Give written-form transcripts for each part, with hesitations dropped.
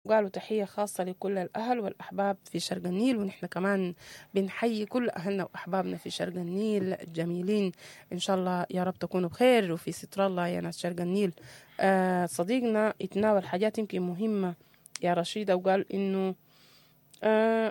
وقالوا تحية خاصة لكل الأهل والأحباب في شرق النيل، ونحن كمان بنحيي كل أهلنا وأحبابنا في شرق النيل الجميلين. إن شاء الله يا رب تكونوا بخير وفي ستر الله يا ناس شرق النيل. صديقنا اتناول حاجات يمكن مهمة يا رشيدة، وقال إنه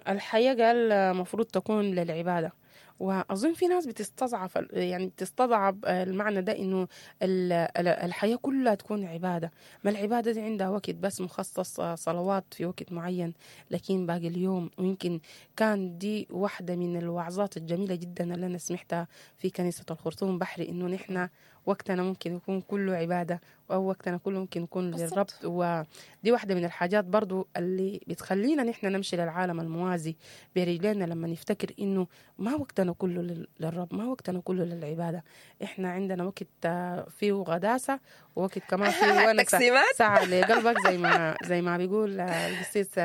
الحياة قال مفروض تكون للعبادة. وأظن في ناس بتستصعب، يعني بتستضعف المعنى ده، إنه الحياة كلها تكون عبادة. ما العبادة دي عندها وقت بس مخصص، صلوات في وقت معين، لكن باقي اليوم. ويمكن كان دي واحدة من الوعظات الجميلة جدا اللي أنا سمعتها في كنيسة الخرطوم بحري، إنه نحن وقتنا ممكن يكون كله عبادة، أو وقتنا كله ممكن يكون للرب. ودي واحدة من الحاجات برضو اللي بتخلينا نحن نمشي للعالم الموازي برجلينا، لما نفتكر إنه ما وقتنا كله للرب، ما وقتنا كله للعبادة. إحنا عندنا وقت فيه غداسة، ووقت كمان فيه ونسة، ساعة لقلبك زي ما بيقول القسيس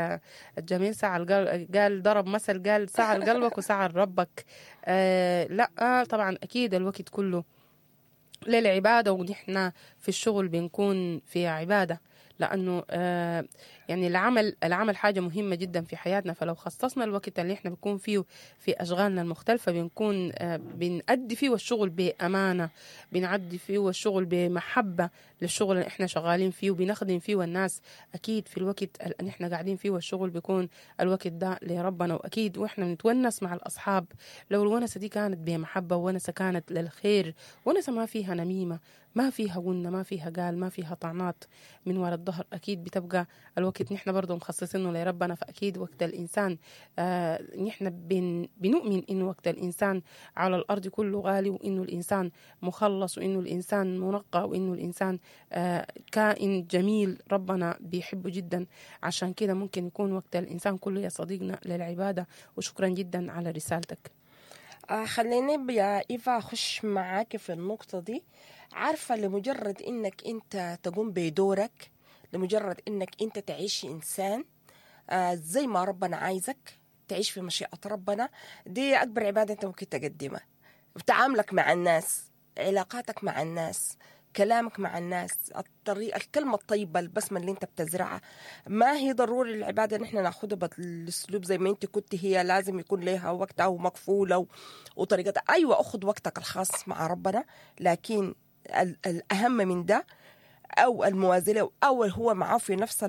الجميل، ساعة قال ضرب مثل، قال ساعة لقلبك وساعة لربك. لا طبعا أكيد الوقت كله للعبادة، ونحن في الشغل بنكون في عبادة، لأنه يعني العمل حاجة مهمة جدا في حياتنا. فلو خصصنا الوقت اللي احنا بنكون فيه في أشغالنا المختلفة، بنكون بنأدي فيه الشغل بأمانة، بنعدي فيه الشغل بمحبة للشغل اللي احنا شغالين فيه وبنخدم فيه الناس. أكيد في الوقت اللي احنا قاعدين فيه الشغل بيكون الوقت ده لربنا، وأكيد واحنا بنتونس مع الأصحاب، لو الونسة دي كانت بمحبة، ونسة كانت للخير، ونسة ما فيها نميمة، ما فيها غنة، ما فيها قال، ما فيها طعنات من وراء الظهر، أكيد بتبقى الوقت نحن برضو مخصصينه لربنا. فأكيد وقت الإنسان نحن بنؤمن إنه وقت الإنسان على الأرض كله غالي، وإنه الإنسان مخلص، وإنه الإنسان منقى، وإنه الإنسان كائن جميل ربنا بيحبه جدا. عشان كده ممكن يكون وقت الإنسان كله يا صديقنا للعبادة. وشكرا جدا على رسالتك. خليني يا إيفا أخش معاك في النقطة دي. عارفة لمجرد إنك أنت تقوم بدورك، لمجرد إنك أنت تعيش إنسان زي ما ربنا عايزك تعيش في مشيئة ربنا، دي أكبر عبادة أنت ممكن تقدمها. تعاملك مع الناس، علاقاتك مع الناس، كلامك مع الناس، الطريقة، الكلمة الطيبة، البسمة اللي انت بتزرعها. ما هي ضروري العبادة نحن ناخدها بالاسلوب زي ما انت كنت، هي لازم يكون لها وقتها ومقفولة وطريقتها. ايوه، اخذ وقتك الخاص مع ربنا، لكن الاهم من ده او الموازنة او هو معاه في نفس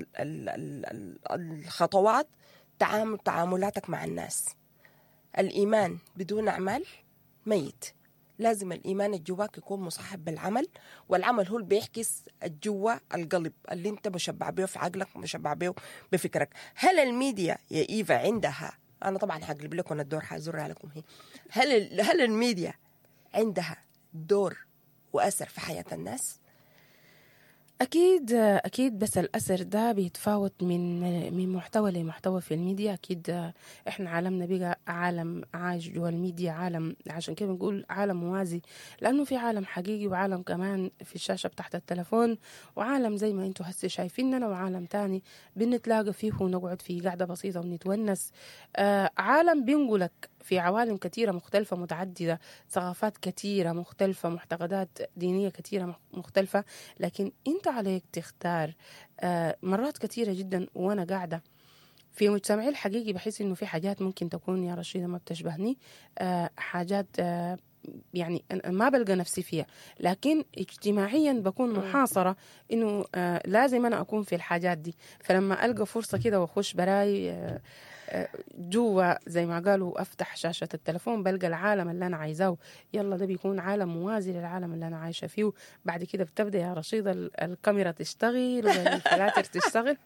الخطوات، تعاملاتك مع الناس. الايمان بدون اعمال ميت. لازم الإيمان الجواك يكون مصاحب بالعمل، والعمل هو اللي بيعكس الجوا القلب اللي انت مشبع به في عقلك ومشبع به بفكرك. هل الميديا يا إيفا عندها، أنا طبعا هقلب لكم الدور، هزرها لكم هي، هل الميديا عندها دور وأثر في حياة الناس؟ أكيد أكيد، بس الأثر ده بيتفاوت من محتوى لمحتوى في الميديا. أكيد إحنا عالمنا بقى عالم عايش جوا الميديا، عالم، عشان كده بنقول عالم موازي، لأنه في عالم حقيقي وعالم كمان في الشاشة بتاعت التلفون، وعالم زي ما انتوا هسه شايفيننا، وعالم تاني بنتلاقى فيه ونقعد فيه قعدة بسيطة ونتونس. عالم بينقلك في عوالم كثيرة مختلفة متعددة، ثقافات كثيرة مختلفة، معتقدات دينية كثيرة مختلفة، لكن انت عليك تختار. مرات كثيرة جدا وانا قاعدة في مجتمعي الحقيقي بحس انه في حاجات ممكن تكون يا رشيدة ما بتشبهني، حاجات يعني أنا ما بلقى نفسي فيها، لكن اجتماعيا بكون محاصرة انه لازم انا اكون في الحاجات دي. فلما القى فرصة كده واخش براي جوا زي ما قالوا، افتح شاشة التلفون بلقى العالم اللي انا عايزاه، يلا ده بيكون عالم موازي للعالم اللي انا عايشة فيه. بعد كده بتبدأ يا رشيدة الكاميرا تشتغل والفلاتر تشتغل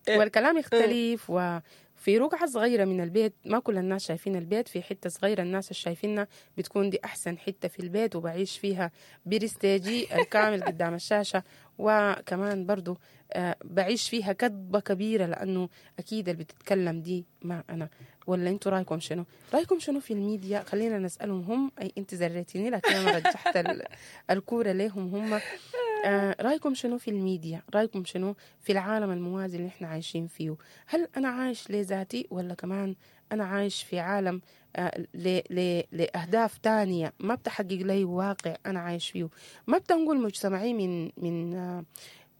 والكلام يختلف. وفي رقعة صغيرة من البيت، ما كل الناس شايفين البيت، في حتة صغيرة الناس شايفينها بتكون دي أحسن حتة في البيت، وبعيش فيها برستيجي الكامل قدام الشاشة، وكمان برضو بعيش فيها كذبة كبيرة، لأنه أكيد اللي بتتكلم دي ما أنا. ولا أنتوا رأيكم شنو؟ رأيكم شنو في الميديا؟ خلينا نسألهم هم. أي أنت زريتيني لكن أنا رجحت الكورة ليهم هم. رأيكم شنو في الميديا؟ رأيكم شنو في العالم الموازي اللي احنا عايشين فيه؟ هل أنا عايش لذاتي، ولا كمان أنا عايش في عالم لأهداف تانية ما بتحقق لي واقع أنا عايش فيه؟ ما بتنقل مجتمعي من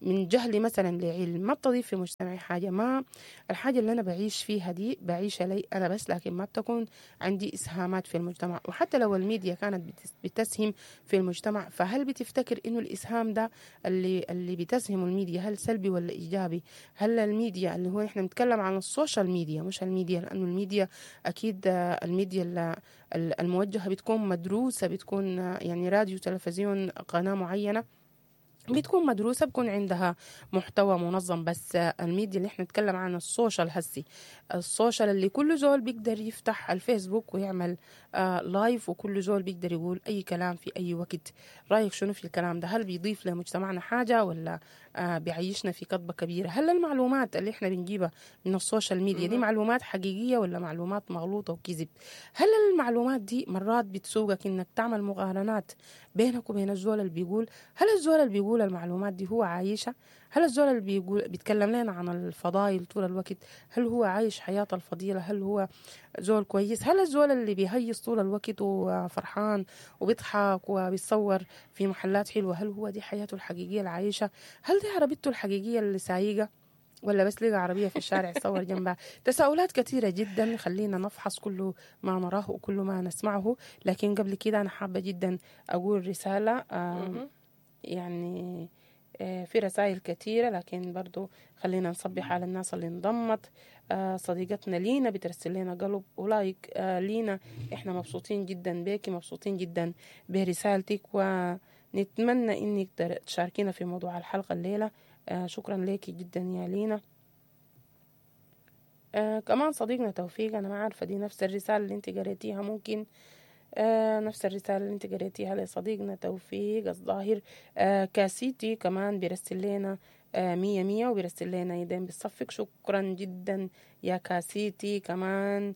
من جهلي مثلا لعلم ما بتضيف في مجتمعي حاجة. ما الحاجة اللي أنا بعيش فيها دي بعيشها لي أنا بس، لكن ما بتكون عندي إسهامات في المجتمع. وحتى لو الميديا كانت بتسهم في المجتمع، فهل بتفتكر إنه الإسهام ده اللي بتسهمه الميديا هل سلبي ولا إيجابي؟ هل الميديا اللي هو إحنا بنتكلم عن ال social media مش الميديا، لأنه الميديا أكيد الميديا الموجهة بتكون مدروسة، بتكون يعني راديو تلفزيون قناة معينة بتكون مدروسة، بكون عندها محتوى منظم. بس الميديا اللي احنا نتكلم عن ال social هسي، ال social اللي كل زول بيقدر يفتح الفيسبوك ويعمل live، وكل زول بيقدر يقول أي كلام في أي وقت. رأيك شنو في الكلام ده؟ هل بيضيف لمجتمعنا حاجة ولا بيعيشنا في كذبة كبيرة؟ هل المعلومات اللي احنا بنجيبها من ال social media دي معلومات حقيقية ولا معلومات مغلوطة وكذب؟ هل المعلومات دي مرات بتسوقك انك تعمل مقارنات بينك وبين الزول اللي بيقول؟ هل الزول اللي بيقول المعلومات دي هو عايشة؟ هل الزول اللي بيقول بيتكلم لنا عن الفضائل طول الوقت هل هو عايش حياة الفضيلة؟ هل هو زول كويس؟ هل الزول اللي بيهيص طول الوقت وفرحان وبيضحك وبيتصور في محلات حلوة هل هو دي حياته الحقيقية العايشة؟ هل دي عربيته الحقيقية اللي سايقة ولا بس لقى عربية في الشارع يصور جنبها؟ تساؤلات كثيرة جدا، خلينا نفحص كل ما نراه وكل ما نسمعه. لكن قبل كده أنا حابة جدا أقول رسالة، يعني في رسائل كثيرة، لكن برضو خلينا نصبح على الناس اللي انضمت. صديقتنا لينا بترسل لنا قلب ولايك. لينا احنا مبسوطين جدا بيكي، مبسوطين جدا برسالتك، ونتمنى انك تشاركينا في موضوع الحلقة الليلة. شكرا لك جدا يا لينا. كمان صديقنا توفيق، انا ما عارفة دي نفس الرسالة اللي انت قريتيها، ممكن نفس الرسالة اللي انت قريتيها لصديقنا توفيق الظاهر. كاسيتي كمان بيرسل لنا 100 100 وبيرسل لنا يدين بالصفق، شكرا جدا يا كاسيتي. كمان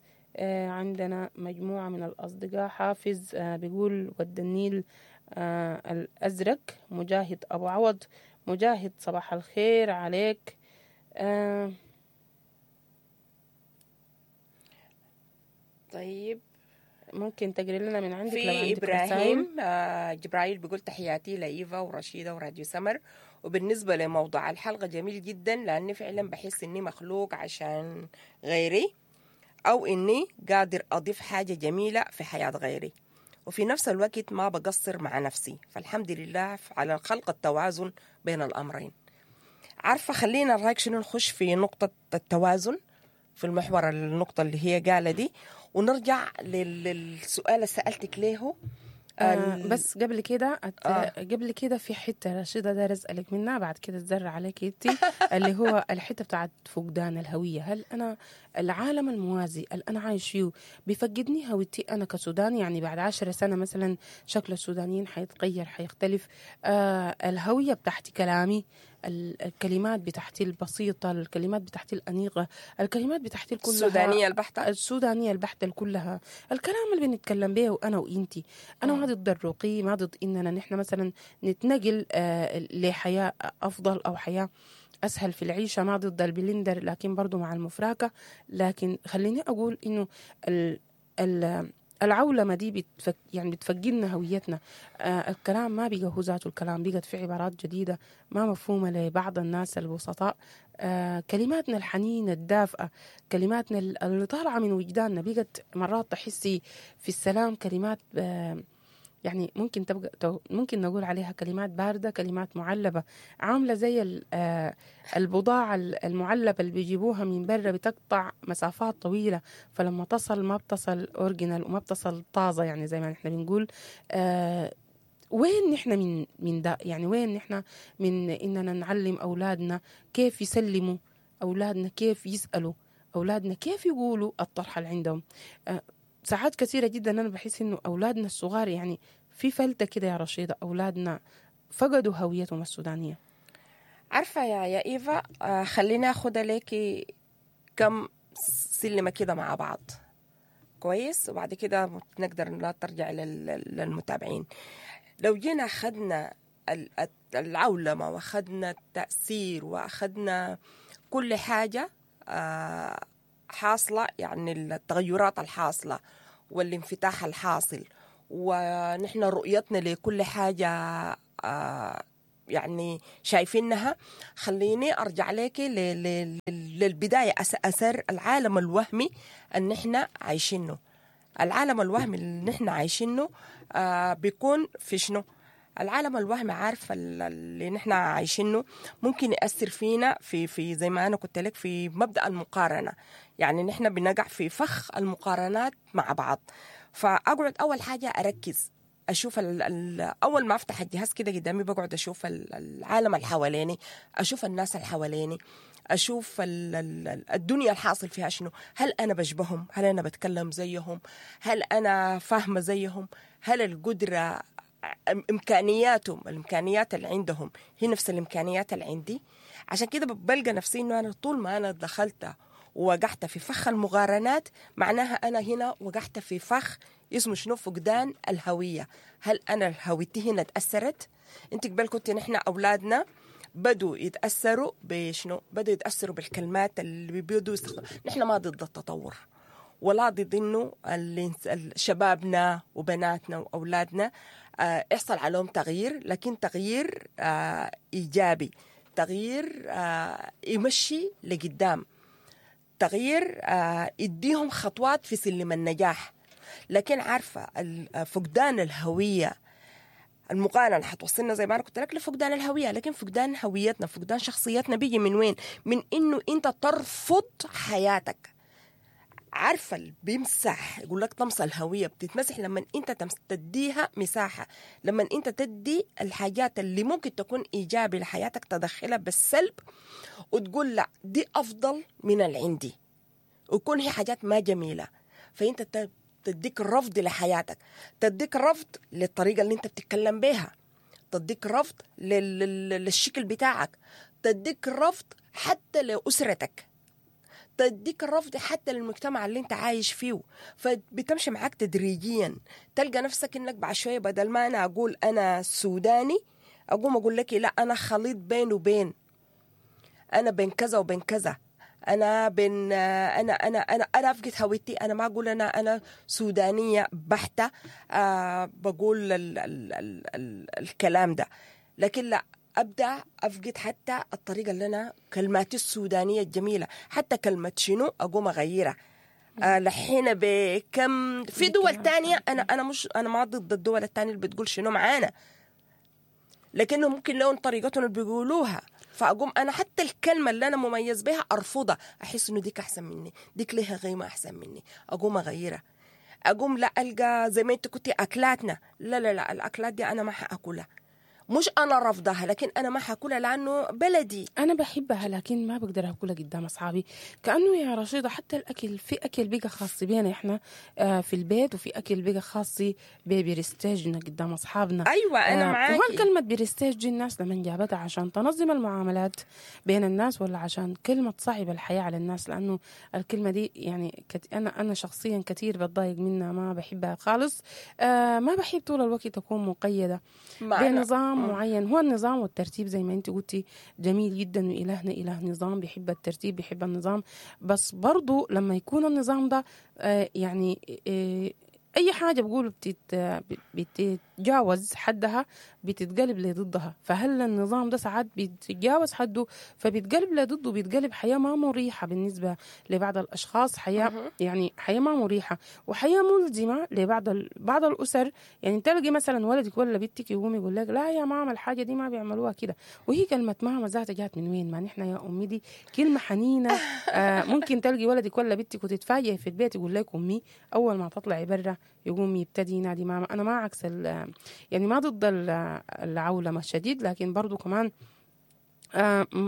عندنا مجموعة من الأصدقاء، حافظ بيقول ود النيل الأزرق، مجاهد أبو عوض، مجاهد صباح الخير عليك. طيب ممكن تقري لنا من عندك لو في عندك رسائل. إبراهيم جبرايل بيقول تحياتي لإيفا ورشيدة وراديو سمر. وبالنسبة لموضوع الحلقة جميل جدا، لأني فعلا بحس إني مخلوق عشان غيري، أو إني قادر أضيف حاجة جميلة في حياة غيري، وفي نفس الوقت ما بقصر مع نفسي. فالحمد لله على خلق التوازن بين الأمرين. عارفة خلينا رأيك شنو نخش في نقطة التوازن في المحور، النقطة اللي هي قالة دي، ونرجع للسؤال اللي سألتك ليه. بس قبل كده قبل كده في حتة رشيدة داير أسألك منها بعد كده تزر عليك انتي، اللي هو الحتة بتاعت فقدان الهوية. هل أنا العالم الموازي اللي أنا عايش فيه بيفقدني هويتي أنا كسوداني؟ يعني بعد 10 سنة مثلا شكل السودانيين حيتغير، حيختلف. الهوية بتاعتي، كلامي، الكلمات بتاعتي البسيطة، الكلمات بتاعتي الأنيقة، الكلمات بتاعتي كلها السودانية البحتة، السودانية البحتة كلها، الكلام اللي بنتكلم به أنا وإنتي. أنا ما ضد الرقي، ما ضد إننا نحن مثلا نتنقل لحياة أفضل أو حياة أسهل في العيشة، ما ضد البلندر، لكن برضو مع المفراكة. لكن خليني أقول إنه العولمة دي يعني بتفقدنا هويتنا. الكلام ما بقى هو ذاته الكلام، بقت في عبارات جديدة ما مفهومة لبعض الناس البسطاء. كلماتنا الحنينة الدافئة، كلماتنا اللي طالعة من وجداننا، بقت مرات تحسي في السلام كلمات يعني ممكن تبقى ممكن نقول عليها كلمات باردة، كلمات معلبة، عاملة زي البضاعة المعلبة اللي بيجيبوها من برا، بتقطع مسافات طويلة، فلما تصل ما بتصل original وما بتصل طازة، يعني زي ما نحن بنقول. وين نحن من ده؟ يعني وين نحن من إننا نعلم أولادنا كيف يسلموا، أولادنا كيف يسألوا، أولادنا كيف يقولوا الطرح اللي عندهم؟ ساعات كثيرة جدا أنا بحس إنه أولادنا الصغار يعني في فلتة كده يا رشيدة، أولادنا فقدوا هويتهم السودانية. عارفة يا إيفا، خلينا أخد لك كم سلمة كده مع بعض كويس، وبعد كده نقدر لا ترجع للمتابعين. لو جينا أخذنا العولمة وأخذنا التأثير وأخذنا كل حاجة حاصلة، يعني التغيرات الحاصلة والانفتاح الحاصل، ونحن رؤيتنا لكل حاجة يعني شايفينها. خليني ارجع لك للبداية، اثر العالم الوهمي اللي نحن عايشينه. العالم الوهمي اللي نحن عايشينه بيكون في شنو؟ العالم الوهمي عارفه اللي نحن عايشينه ممكن يأثر فينا في زي ما انا قلت لك في مبدأ المقارنة. يعني نحن بنقع في فخ المقارنات مع بعض. فاقعد اول حاجة اركز اشوف اول ما افتح الجهاز كده قدامي بقعد اشوف العالم اللي حواليني، اشوف الناس اللي حواليني، اشوف الدنيا الحاصل فيها شنو. هل انا بشبههم؟ هل انا بتكلم زيهم؟ هل انا فاهمه زيهم؟ هل القدرة امكانياتهم، الامكانيات اللي عندهم هي نفس الامكانيات اللي عندي؟ عشان كده بلقى نفسي انه انا طول ما انا دخلت ووقعت في فخ المقارنات، معناها انا هنا وقعت في فخ اسمه شنو؟ فقدان الهوية. هل انا هويتي هنا تاثرت؟ انت قبل كنت نحن اولادنا بدوا يتاثروا بشنو؟ بدوا يتاثروا بالكلمات اللي بدوا يستخدموا. نحن ما ضد التطور ولا ضد انه شبابنا وبناتنا واولادنا يحصل عليهم تغيير، لكن تغيير ايجابي، تغيير يمشي لقدام، تغيير يديهم خطوات في سلم النجاح. لكن عارفه فقدان الهوية، المقارنة حتوصلنا زي ما انا قلت لك لفقدان الهوية. لكن فقدان هويتنا، فقدان شخصيتنا بيجي من وين؟ من انه انت ترفض حياتك. عارفه اللي بيمسح يقول لك طمس الهوية بتتمسح لما انت تديها مساحة، لما انت تدي الحاجات اللي ممكن تكون ايجابي لحياتك تدخلها بالسلب وتقول لا دي افضل من اللي عندي، ويكون هي حاجات ما جميلة. فانت تديك رفض لحياتك، تديك رفض للطريقة اللي انت بتتكلم بيها، تديك رفض للشكل بتاعك، تديك رفض حتى لاسرتك، تديك الرفض حتى للمجتمع اللي انت عايش فيه. فبتمشي معاك تدريجيا، تلقى نفسك انك بعد شوية بدل ما انا اقول انا سوداني اقوم اقول لك لا انا خليط بين وبين، انا بين كذا وبين كذا، انا بين انا انا انا انا افقد هويتي. انا ما اقول انا سودانيه بحته، بقول ال ال ال ال الكلام ده، لكن لا أبدأ أفقد حتى الطريقة اللي أنا كلماتي السودانية الجميلة، حتى كلمة شنو أقوم أغيرها. لحين بكم في دول تانية، أنا مش أنا ما ضد الدول التانية اللي بتقول شنو معانا، لكنه ممكن لون طريقتهم اللي بيقولوها، فأقوم أنا حتى الكلمة اللي أنا مميز بها أرفضها، أحس إنه ديك أحسن مني، ديك لها قيمة أحسن مني، أقوم أغيرها. أقوم لا ألقى زي ما أنت كنتي أكلاتنا، لا لا لا الأكلات دي أنا ما حأكلها، مش أنا رفضها لكن أنا ما حاكلها لأنه بلدي أنا بحبها لكن ما بقدر أكلها قدام أصحابي. كأنه يا رشيدة حتى الأكل، في أكل بقى خاص بينا إحنا في البيت، وفي أكل بقى خاص ببرستيجنا قدام أصحابنا. أيوة أنا معاكي. وهل كلمة برستيج دي الناس لما جابتها عشان تنظم المعاملات بين الناس، ولا عشان كلمة تصعب الحياة على الناس؟ لأنه الكلمة دي يعني أنا شخصيا كثير بتضايق منها، ما بحبها خالص. ما بحب طول الوقت أكون مقيدة بنظام معين. هو النظام والترتيب زي ما انت قلتي جميل جدا، وإلهنا إله نظام، بيحب الترتيب بيحب النظام، بس برضو لما يكون النظام ده يعني أي حاجة بقولوا بتتجاوز حدها بتتقلب لضدها. فهل النظام ده ساعات بيتجاوز حده فبيتقلب لضده، بيتقلب حياة ما مريحة بالنسبة لبعض الأشخاص، حياة يعني حياة ما مريحة وحياة ملزمة لبعض بعض الأسر. يعني تلقي مثلا ولدك ولا بنتك يقوم يقول لك لا يا ماما الحاجة دي ما بيعملوها كده، وهي كلمة ماما ذاتها جات من وين؟ ما نحن يا أمي دي كلمة حنينة. ممكن تلقي ولدك ولا بنتك وتتفاجئ في البيت يقول لك أمي، أول ما تطلعي برا يقوم يبتدي ينادي ماما. أنا ما عكس يعني ما ضد العولمة الشديد، لكن برضو كمان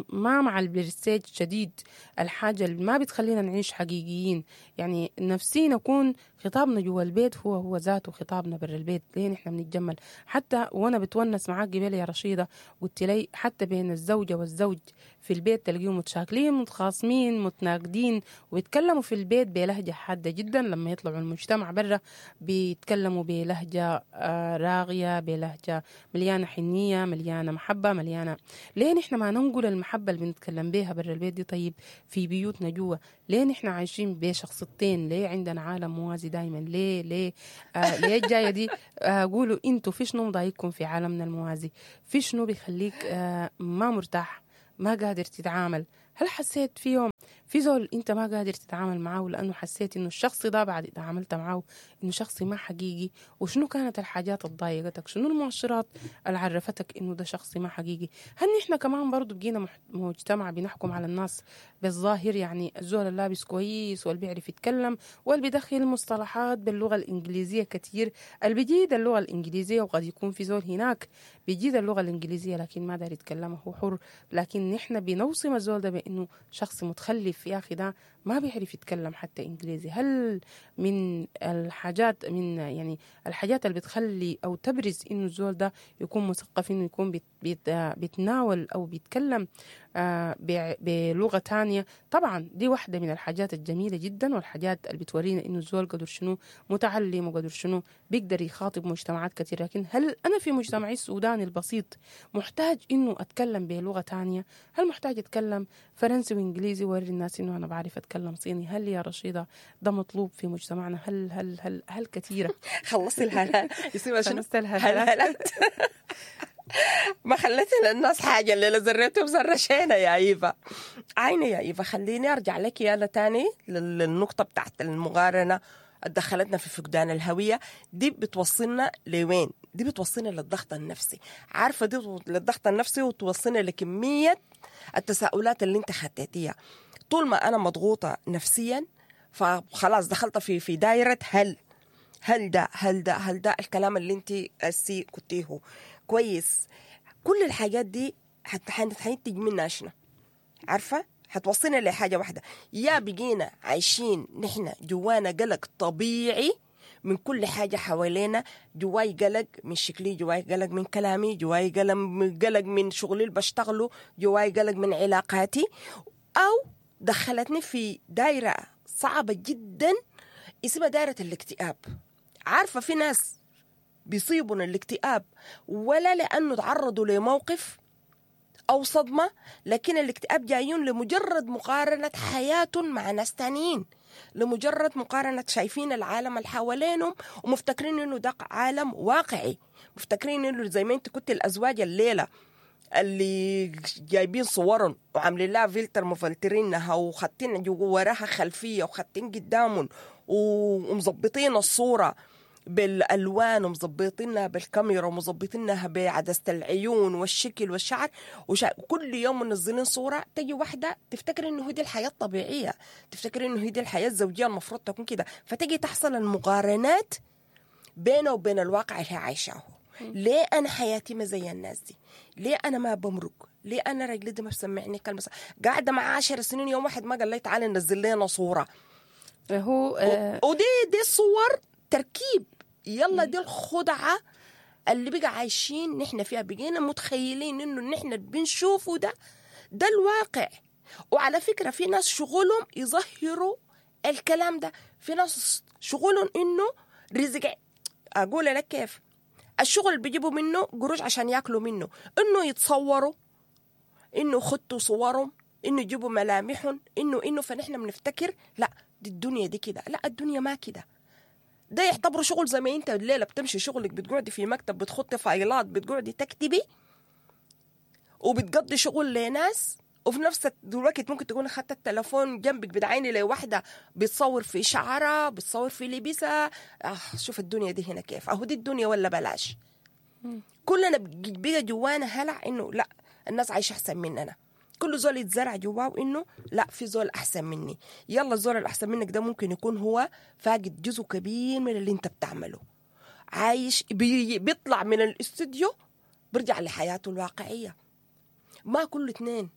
ما مع البرستيج الشديد، الحاجة اللي ما بتخلينا نعيش حقيقيين. يعني نفسينا نكون خطابنا جوا البيت هو ذاته خطابنا برا البيت. ليه نحن بنتجمل؟ حتى وأنا بتونس معاك قبل يا رشيدة قلت لي حتى بين الزوجة والزوج في البيت تلقيهم متشاكلين متخاصمين متناقدين ويتكلموا في البيت بلهجة حادة جدا، لما يطلعوا المجتمع برا بيتكلموا بلهجة راغية، بلهجة مليانة حنية، مليانة محبة، مليانة. ليه نحن ما ننقل المحبة اللي بنتكلم بيها برا البيت دي طيب في بيوتنا جوا؟ ليه نحن عايشين بشخصيتين؟ ليه عندنا عالم موازي دايما؟ ليه ليه ليه الجاية دي؟ قولوا انتوا في شنو مضايقكم في عالمنا الموازي؟ في شنو بيخليك ما مرتاح، ما قادر تتعامل؟ هل حسيت في يوم في زول انت ما قادر تتعامل معاه لانه حسيت انه الشخص ده بعد تعاملت معاه انه شخص ما حقيقي؟ وشنو كانت الحاجات اللي ضايقتك؟ شنو المؤشرات اللي عرفتك انه ده شخص ما حقيقي؟ هل نحن كمان برضو بقينا مجتمع بنحكم على الناس بالظاهر؟ يعني الزول اللابس كويس واللي بيعرف يتكلم واللي بيدخل مصطلحات باللغة الإنجليزية كتير، اللي بيجيد اللغة الإنجليزية، وقد يكون في زول هناك بيجيد اللغة الإنجليزية لكن ما داري يتكلمها، هو حر، لكن نحن بنوصم الزول ده بأنه شخص متخلف، يا أخي ده ما بيعرف يتكلم حتى إنجليزي. هل من الحاجات، من يعني الحاجات اللي بتخلي أو تبرز إنه الزول ده يكون مثقف، إنه يكون بيت بيت بيتناول أو بيتكلم بلغة تانية؟ طبعا دي واحدة من الحاجات الجميلة جدا والحاجات اللي بتورينا إنه الزول قدر شنو متعلم وقدر شنو بيقدر يخاطب مجتمعات كثيرة. لكن هل أنا في مجتمعي السوداني البسيط محتاج إنه أتكلم بلغة تانية؟ هل محتاج أتكلم فرنسي وإنجليزي ووري الناس إنه أنا بعرف أتكلم صيني؟ هل يا رشيدة ده مطلوب في مجتمعنا؟ هل هل هل هل كثيرة؟ خلصتي الهلال يسمى شنو؟ خلصت الهلالات. ما خليتي للناس حاجة اللي زريتهم زرشينا يا إيفا. عيني يا إيفا، خليني أرجع لك يالا تاني للنقطة بتاعت المقارنة دخلتنا في فقدان الهوية. دي بتوصلنا لوين؟ دي بتوصلنا للضغط النفسي، عارفة؟ دي للضغط النفسي وتوصلنا لكمية التساؤلات اللي انت خطيتيها. طول ما أنا مضغوطة نفسيا فخلاص دخلت في دايرة هل هل ده هل ده هل ده الكلام اللي انت السي كنتيه كويس. كل الحاجات دي حتنتج منها شنو؟ عارفة؟ حتوصلنا لحاجة واحدة، يا بقينا عايشين نحن جوانا قلق طبيعي من كل حاجة حوالينا، جواي قلق من شكلي، جواي قلق من كلامي، جواي قلق من شغلي اللي بشتغله، جواي قلق من علاقاتي، أو دخلتني في دايرة صعبة جدا اسمها دايرة الاكتئاب. عارفة في ناس بيصيبون الاكتئاب ولا لأنه تعرضوا لموقف أو صدمة، لكن الاكتئاب جايون لمجرد مقارنة حياتهم مع ناس تانيين، لمجرد مقارنة شايفين العالم اللي حوالينهم ومفتكرين إنه ده عالم واقعي، مفتكرين إنه زي ما أنت كنت الأزواج الليلة اللي جايبين صورهم وعاملين لها فلتر مفلترينها وخاتين وراها خلفية وخاتين قدامهم ومظبطين الصورة بالألوان ومظبطينها بالكاميرا ومظبطينها بعدسة العيون والشكل والشعر، وكل يوم منزلين صورة. تجي واحدة تفتكر إنه هي دي الحياة الطبيعية، تفتكر إنه هي دي الحياة الزوجية المفروض تكون كده، فتجي تحصل المقارنات بينه وبين الواقع اللي هي عايشاه. ليه أنا حياتي ما زي الناس دي؟ ليه أنا ما بمرق؟ ليه أنا رجلي دي ما بسمعني كلمة؟ قاعدة مع 10 سنين يوم واحد ما قال لي تعالي نزل لنا صورة. هو ودي دي صور تركيب. يلا دي الخدعة اللي بقى عايشين نحن فيها، بقينا متخيلين إنه نحن بنشوفه ده الواقع. وعلى فكرة في ناس شغلهم يظهروا الكلام ده، في ناس شغلهم إنه رزق. أقول لك كيف الشغل اللي بيجيبوا منه قروش عشان ياكلوا منه، إنه يتصوروا، إنه خدتوا صورهم، إنه يجيبوا ملامحهم، إنه فنحن بنفتكر لا دي الدنيا دي كده، لا الدنيا ما كده. ده يعتبره شغل زي ما انت الليلة بتمشي شغلك، بتقعدي في مكتب، بتخطي فايلات، بتقعدي تكتبي وبتقضي شغل لناس، وفي نفس الوقت ممكن تكون اخدت التلفون جنبك بتعيني لوحده بتصور في شعرها، بتصور في لبسها. شوف الدنيا دي هنا كيف، اهو دي الدنيا ولا بلاش. كلنا بقى جوانا هلع انه لا الناس عايشه احسن مننا، كل زول يتزرع جواه انه لا في زول احسن مني. يلا الزول الاحسن منك ده ممكن يكون هو فاقد جزء كبير من اللي انت بتعمله، عايش بيطلع من الاستوديو برجع لحياته الواقعية. ما كل اثنين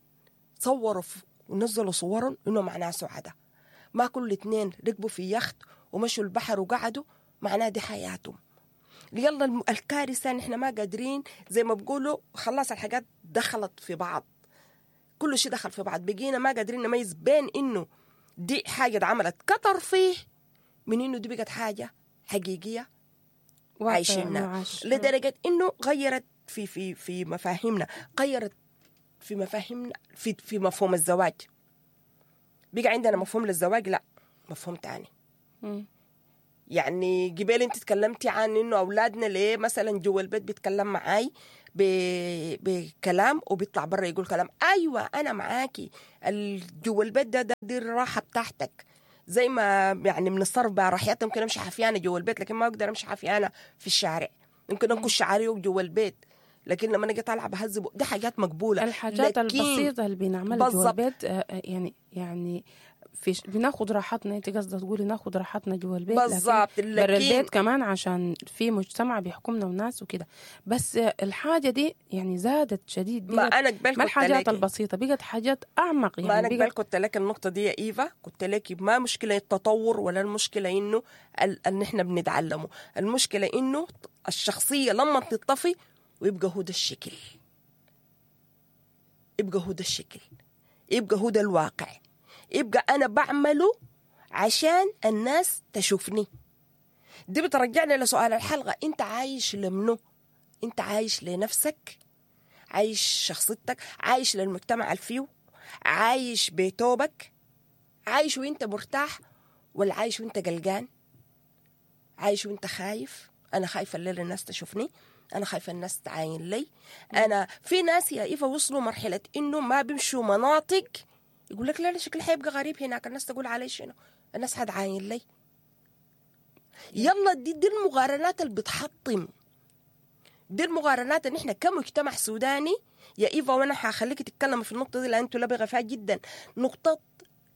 صوروا ونزلوا صورهم انه معناه سعداء، ما كل اثنين ركبوا في يخت ومشوا البحر وقعدوا معناه دي حياتهم. يلا الكارثة نحن ما قادرين زي ما بقولوا، خلاص الحاجات دخلت في بعض، كل شيء دخل في بعض، بقينا ما قادرين نميز بين انه دي حاجة اتعملت كترفيه من انه دي بقت حاجة حقيقية عايشينها، لدرجة انه غيرت في في في مفاهيمنا، غيرت في مفاهيمنا، في مفهوم الزواج. بقى عندنا مفهوم للزواج، لا مفهوم تاني. يعني قبل انت تكلمتي عن انه اولادنا ليه مثلا جوا البيت بيتكلم معاي بكلام وبيطلع برا يقول كلام. ايوه انا معاكي، جوا البيت ده دي الراحة بتاعتك، زي ما يعني بنتصرف براحتنا. ممكن امشي حفيانه جوا البيت لكن ما اقدر امشي حفيانه في الشارع، ممكن انكش شعري جوا البيت لكن لما اجي طالعه بهذب. دي حاجات مقبولة. الحاجات البسيطة اللي بنعملها جوا البيت يعني في بناخد راحتنا. انت قصدك تقولي ناخد راحتنا جوا البيت بالظبط، برا البيت كمان عشان في مجتمع بيحكمنا وناس وكده. بس الحاجة دي يعني زادت شديد. ما انا قبل ما الحاجات البسيطة بقت حاجات اعمق. يعني ما انا قبل قلت لك النقطة دي يا ايفا، قلت لك ما مشكلة التطور ولا المشكلة انه ان احنا بنتعلمه، المشكلة انه الشخصية لما تطفي ويبقى هو ده الشكل، يبقى هو ده الشكل، يبقى هو ده الواقع، يبقى أنا بعمله عشان الناس تشوفني. دي بترجعنا لسؤال الحلقة، أنت عايش لمنو؟ أنت عايش لنفسك؟ عايش شخصيتك؟ عايش للمجتمع الفيو؟ عايش بتوبك؟ عايش وانت مرتاح ولا عايش وانت قلقان؟ عايش وانت خايف؟ أنا خايفة الليلة الناس تشوفني، أنا خايفة الناس تعاين لي. أنا في ناس يا إيفا وصلوا مرحلة إنه ما بيمشوا مناطق، يقول لك لا لا شكلي حيبقى غريب هناك، الناس تقول علي شنو، الناس حتعاين لي. يلا دي المقارنات اللي بتحطم، دي المقارنات ان احنا كمجتمع سوداني يا ايفا، وانا حخليك تتكلم في النقطة دي لان انتوا لبغه فيها جدا، نقطة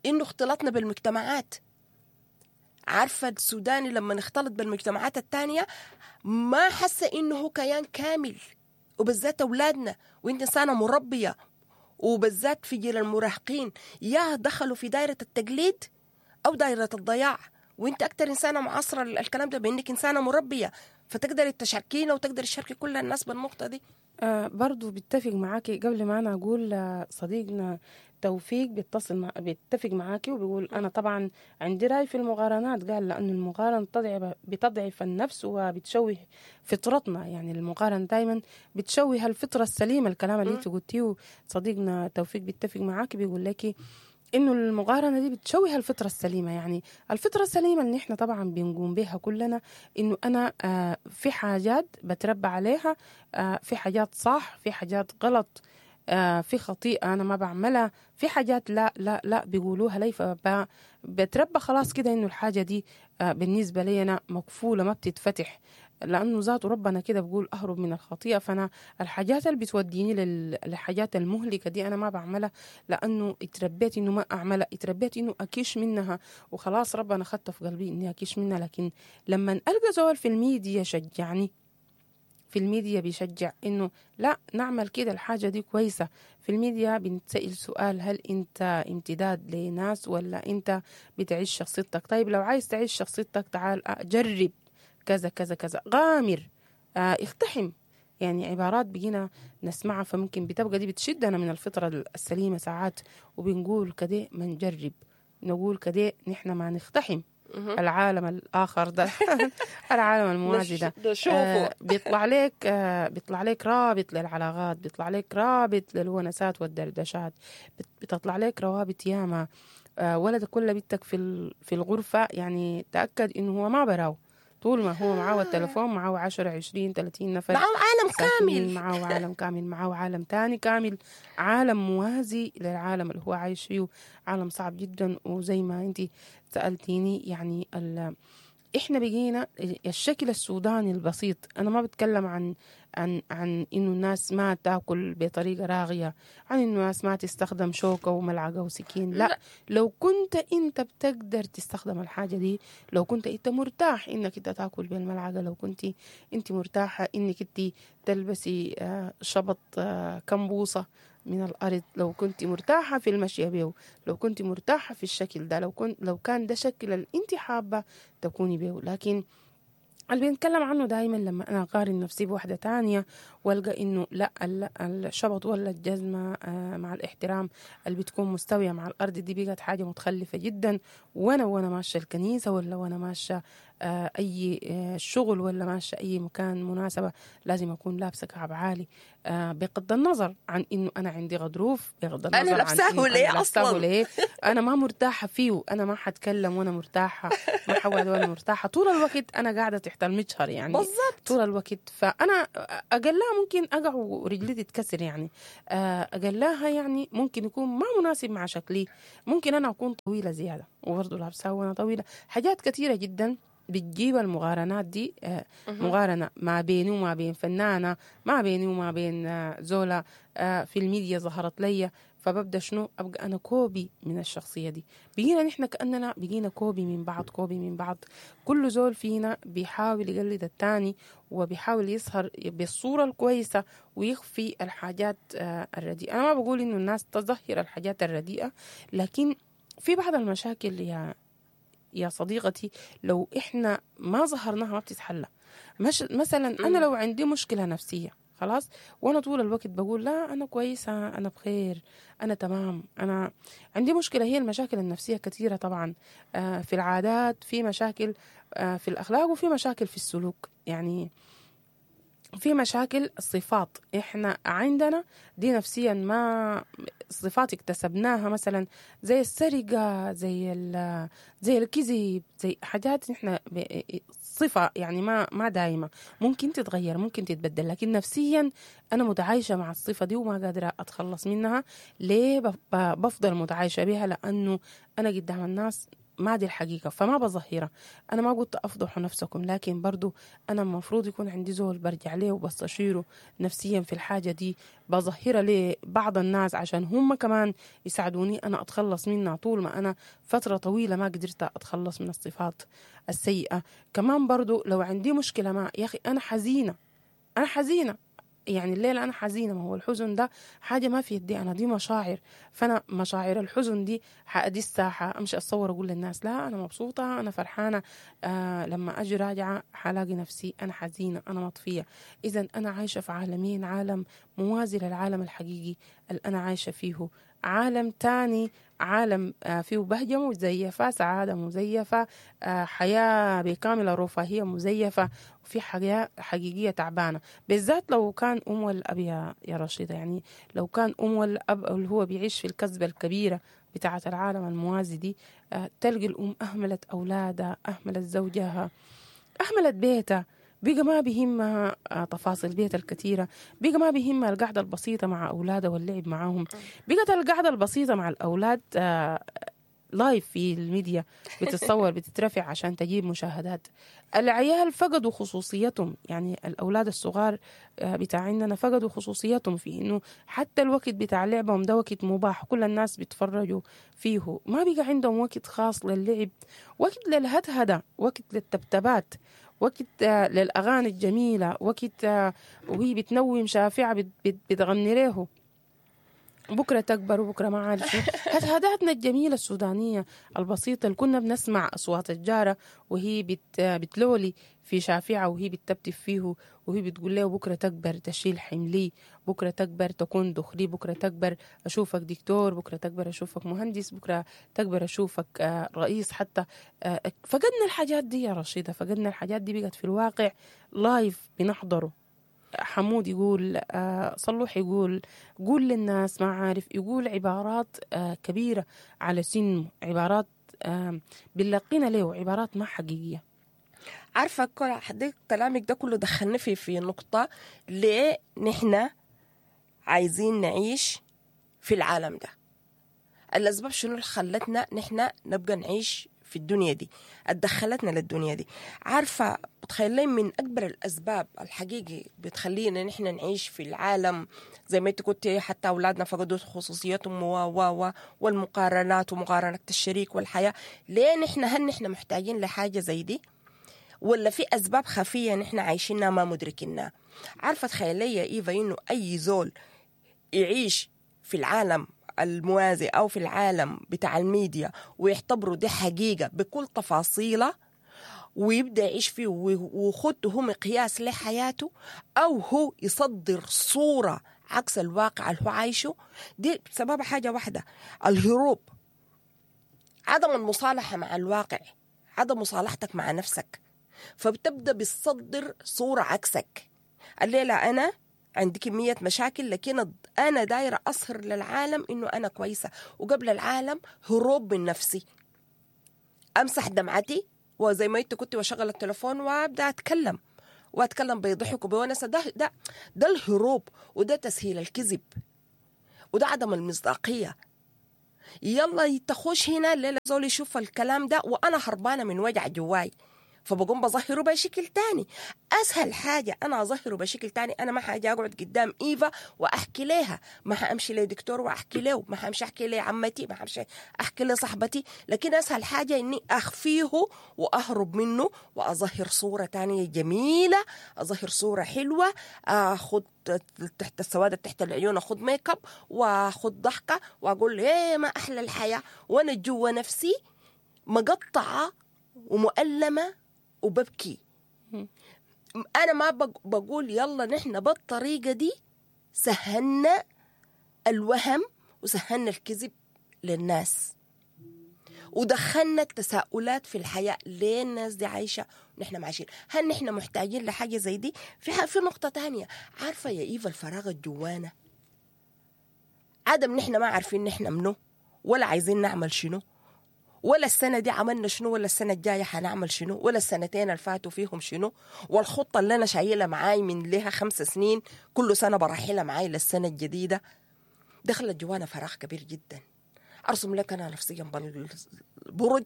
انه اختلاطنا بالمجتمعات. عارفه السوداني لما نختلط بالمجتمعات الثانية ما حس انه هو كيان كامل، وبالذات اولادنا، وانت انسانه مربيه، وبالذات في جيل المراهقين، يا دخلوا في دائرة التقليد أو دائرة الضياع. وانت أكتر إنسانة معاصرة الكلام ده بإنك إنسانة مربية، فتقدري تشاركينا وتقدري تشاركي كل الناس بالنقطة دي. برضو بتفق معاكي. قبل ما أنا أقول صديقنا توفيق بيتفق معاكي وبيقول أنا طبعا عندي رأي في المقارنات. قال لأن المقارنة بتضعف النفس وبتشوه فطرتنا. يعني المقارنة دايما بتشوه الفطرة السليمة. الكلام اللي انت قلتيه صديقنا توفيق بيتفق معاكي، بيقول لك إنه المقارنة دي بتشوه الفطرة السليمة. يعني الفطرة السليمة اللي إحنا طبعا بنقوم بها كلنا، إنه أنا في حاجات بتربى عليها، في حاجات صح، في حاجات غلط، في خطيئة أنا ما بعملها، في حاجات لا لا لا بيقولوها لي، فبتربى خلاص كده إنه الحاجة دي بالنسبة لي أنا مقفولة ما بتتفتح، لأنه ذاته ربنا كده بقول أهرب من الخطيئة. فأنا الحاجات اللي بتوديني للحاجات المهلكة دي أنا ما بعملها، لأنه اتربيت إنه ما أعملها، اتربيت إنه أكيش منها، وخلاص ربنا خدت في قلبي إني أكيش منها. لكن لما ألقى زول في الميديا شجعني، في الميديا بيشجع إنه لا نعمل كده الحاجة دي كويسة. في الميديا بنتسأل سؤال، هل أنت امتداد لناس ولا أنت بتعيش شخصيتك؟ طيب لو عايز تعيش شخصيتك تعال جرب كذا كذا كذا، غامر، اقتحم. يعني عبارات بقينا نسمعها، فممكن بتبقى دي بتشدنا من الفطرة السليمة ساعات، وبنقول كده ما نجرب، نقول كده نحن ما نقتحم العالم الآخر ده العالم الموازي ده. بيطلع لك بيطلع لك رابط للعلاقات، بيطلع لك رابط للونسات والدردشات، بتطلع لك روابط ياما. ولدك ولا بنتك في الغرفة، يعني تأكد إنه هو ما براو، طول ما هو معاه التلفون معاه 10 20 30 نفر، معاه عالم كامل، معاه عالم كامل، معاه عالم تاني كامل، عالم موازي للعالم اللي هو عايش فيه، عالم صعب جدا. وزي ما انت سألتيني يعني احنا بقينا الشكل السوداني البسيط. انا ما بتكلم عن عن عن انه الناس ما تاكل بطريقة راغيه، عن انه الناس ما تستخدم شوكه وملعقه وسكين، لا. لو كنت انت بتقدر تستخدم الحاجة دي، لو كنت انت مرتاح انك انت تاكل بالملعقه، لو كنت انت مرتاحة انك انت تلبسي شبط كمبوصه من الأرض، لو كنت مرتاحة في المشي بيه، لو كنت مرتاحة في الشكل ده، لو كان ده شكل اللي انت حابة تكوني بيه. لكن اللي بنتكلم عنه دايما لما أنا أقارن نفسي بواحدة تانية والقى انه لا، الشبط ولا الجزمة مع الاحترام اللي بتكون مستوية مع الارض دي بقت حاجة متخلفة جدا، وانا ماشية الكنيسة ولا وانا ماشية اي شغل ولا ماشية اي مكان مناسبة لازم اكون لابسه كعب عالي، بغض النظر عن انه انا عندي غضروف، بغض النظر انا لابساه ليه اصلا، ليه انا ما مرتاحة فيه، انا ما حتكلم وانا مرتاحة، ما حقعد وانا مرتاحة، طول الوقت انا قاعدة تحت المجهر يعني بالضبط طول الوقت. فانا اقلها ممكن اقع ورجلي تتكسر يعني، اقلها يعني ممكن يكون ما مناسب مع شكلي، ممكن انا اكون طويلة زيادة وبرضه لابساه وانا طويلة. حاجات كثيرة جدا بتجيب المقارنات دي، مقارنة ما بيني وما بين فنانة، ما بيني وما بين زولا في الميديا ظهرت لي، فببدأ شنو أبقى أنا copy من الشخصية دي. بقينا نحن كأننا بقينا copy من بعض، copy من بعض، كل زول فينا بيحاول يقلد التاني وبيحاول يظهر بالصورة الكويسة ويخفي الحاجات الرديئة. أنا ما بقول إنه الناس تظهر الحاجات الرديئة، لكن في بعض المشاكل يا صديقتي لو إحنا ما ظهرناها ما بتتحلى. مثلا أنا لو عندي مشكلة نفسية خلاص، وأنا طول الوقت بقول لا أنا كويسة، أنا بخير، أنا تمام، أنا عندي مشكلة. هي المشاكل النفسية كثيرة طبعا، في العادات، في مشاكل في الأخلاق، وفي مشاكل في السلوك، يعني في مشاكل الصفات إحنا عندنا دي نفسيا، ما صفات اكتسبناها مثلا زي السرقة، زي الكذب، زي حاجات إحنا صفة يعني ما دايمة، ممكن تتغير ممكن تتبدل، لكن نفسيا أنا متعايشة مع الصفة دي وما قادرة أتخلص منها. ليه بفضل متعايشة بها؟ لأنه أنا قدام الناس ما دي الحقيقة، فما بظهرها. أنا ما قلت أفضحوا نفسكم، لكن برضو أنا المفروض يكون عندي زول برجع ليه وبستشيره نفسيا في الحاجة دي، بظهرها لبعض الناس عشان هم كمان يساعدوني أنا أتخلص منها. طول ما أنا فترة طويلة ما قدرت أتخلص من الصفات السيئة. كمان برضو لو عندي مشكلة ما يا أخي أنا حزينة، أنا حزينة يعني الليلة أنا حزينة، ما هو الحزن ده حاجة ما في يدي أنا، دي مشاعر، فأنا مشاعر الحزن دي حأدي الساحة أمشي أتصور أقول للناس لا أنا مبسوطة أنا فرحانة، لما أجي راجعة حلاقي نفسي أنا حزينة أنا مطفية. إذن أنا عايشة في عالمين، عالم موازي للعالم الحقيقي اللي أنا عايشة فيه، عالم تاني، عالم فيه بهجة مزيفة، سعادة مزيفة، حياة بكامل الرفاهية مزيفة، وفي حياة حقيقية تعبانة. بالذات لو كان أم والأب يا رشيدة، يعني لو كان أم والأب اللي هو بيعيش في الكذبة الكبيرة بتاعة العالم الموازي دي، تلقي الأم أهملت أولادها، أهملت زوجها، أهملت بيتها، بقى ما بيهمها تفاصيل بيتها الكثيرة، بقى ما بيهمها القعدة البسيطة مع أولادها واللعب معاهم، بقت القعدة البسيطة مع الأولاد live في الميديا بتتصور بتترفع عشان تجيب مشاهدات. العيال فقدوا خصوصيتهم، يعني الأولاد الصغار بتاعنا فقدوا خصوصيتهم في إنه حتى الوقت بتاع لعبهم ده وقت مباح، كل الناس بيتفرجوا فيه، ما بقى عندهم وقت خاص للعب، وقت للهدهدة، وقت للتبتبات، وقت للأغاني الجميلة، وقت وهي بتنوم شافعة بتغني له بكرة تكبر وبكرة ما عارف شنو. هدهداتنا الجميلة السودانية البسيطة اللي كنا بنسمع أصوات الجارة وهي بتلولي في شافعة وهي بتتبتب فيه وهي بتقول له بكرة تكبر تشيل حملي، بكرة تكبر تكون دخلي، بكرة تكبر أشوفك دكتور، بكرة تكبر أشوفك مهندس، بكرة تكبر أشوفك رئيس حتى. فقدنا الحاجات دي يا رشيدة، فقدنا الحاجات دي، بقت في الواقع live بنحضره. حمود يقول، صلوح يقول، قول للناس ما عارف، يقول عبارات كبيرة على سنة، عبارات بنلاقينا له عبارات ما حقيقية. عارفة حضرتك كلامك ده كله دخلنا في نقطة، ليه نحن عايزين نعيش في العالم ده؟ الأسباب شنو اللي خلتنا نحن نبقى نعيش في الدنيا دي، ادخلتنا للدنيا دي؟ عارفة بتخيلين من أكبر الأسباب الحقيقي بتخلينا نحن نعيش في العالم زي ما انت كنت، حتى أولادنا فقدوا خصوصيتهم و والمقارنات ومقارنة الشريك والحياة. ليه نحن، هل نحن محتاجين لحاجة زي دي ولا في أسباب خفية نحن عايشينها ما مدركينها؟ عارفة تخيلي يا إيفا إنه أي زول يعيش في العالم الموازي أو في العالم بتاع الميديا ويعتبروا دي حقيقة بكل تفاصيلها، ويبدا يعيش فيه ويخده هو مقياس لحياته، او هو يصدر صوره عكس الواقع اللي هو عايشه. دي سبب حاجة واحدة، الهروب، عدم المصالحة مع الواقع، عدم مصالحتك مع نفسك، فبتبدا بتصدر صوره عكسك. الليلة انا عندي كمية مشاكل، لكن انا دايرة اظهر للعالم انه انا كويسة، وقبل العالم هروب من نفسي، امسح دمعتي وزي ما انت كنت، واشغل التليفون وابدا اتكلم واتكلم بضحك وبونسه. ده الهروب، وده تسهيل الكذب، وده عدم المصداقية. يلا تخش هنا الليلة زول يشوف الكلام ده وانا هربانه من وجع جواي، فبقوم بظهره بشكل تاني. اسهل حاجة انا اظهره بشكل تاني، انا ما حاجة اقعد قدام ايفا واحكي لها، ما حامشي لدكتور واحكي له، ما حامشي احكي لعمتي، ما حامشي احكي لصاحبتي، لكن اسهل حاجة اني اخفيه واهرب منه واظهر صوره تانية جميلة، اظهر صوره حلوة، اخد تحت السواد تحت العيون، اخد ميك اب واخد ضحكه واقول ايه ما احلى الحياة، وانا جوا نفسي مقطعه ومؤلمة وببكي. أنا ما بقول يلا نحن بالطريقة دي سهلنا الوهم وسهلنا الكذب للناس، ودخلنا التساؤلات في الحياة، ليه الناس دي عايشة ونحن ما عايشين؟ هل نحن محتاجين لحاجة زي دي؟ في نقطة تانية، عارفة يا إيفا الفراغ الجوانا، عدم نحن ما عارفين نحن منو، ولا عايزين نعمل شنو، ولا السنة دي عملنا شنو، ولا السنة الجاية حنعمل شنو، ولا السنتين اللي فاتوا فيهم شنو، والخطة اللي أنا شايلها معاي من لها 5 سنين كل سنة برحلها معاي للسنة الجديدة. دخلت جوانا فراغ كبير جدا. أرسم لك أنا نفسي جنب البرج،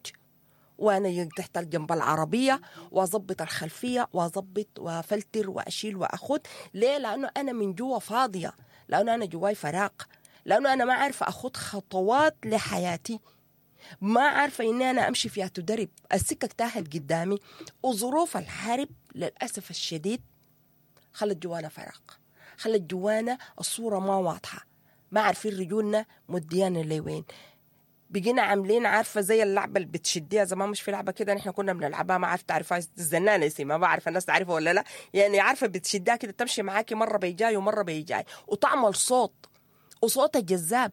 وأنا تحت جنب العربية، وأظبط الخلفية وأظبط وأفلتر وأشيل وأخد. ليه؟ لأنه أنا من جوا فاضية، لأنه أنا جواي فراغ، لأنه أنا ما عارفة أخد خطوات لحياتي، ما عارفة إني أنا أمشي فيها تدرب، السكة تاهت قدامي، وظروف الحرب للأسف الشديد خلت جوانا فراغ، خلت جوانا الصورة ما واضحة، ما عارفين رجولنا مديانا لوين. بقينا عاملين عارفة زي اللعبة اللي بتشديها زمان، مش في لعبة كده نحن كنا بنلعبها، ما عارفة تعرفها، الزنانة اسمها، ما بعرف الناس تعرفها ولا لا، يعني عارفة بتشدها كده تمشي معاكي مرة بيجاي ومرة بيجاي وتعمل صوت، وصوتها جذاب.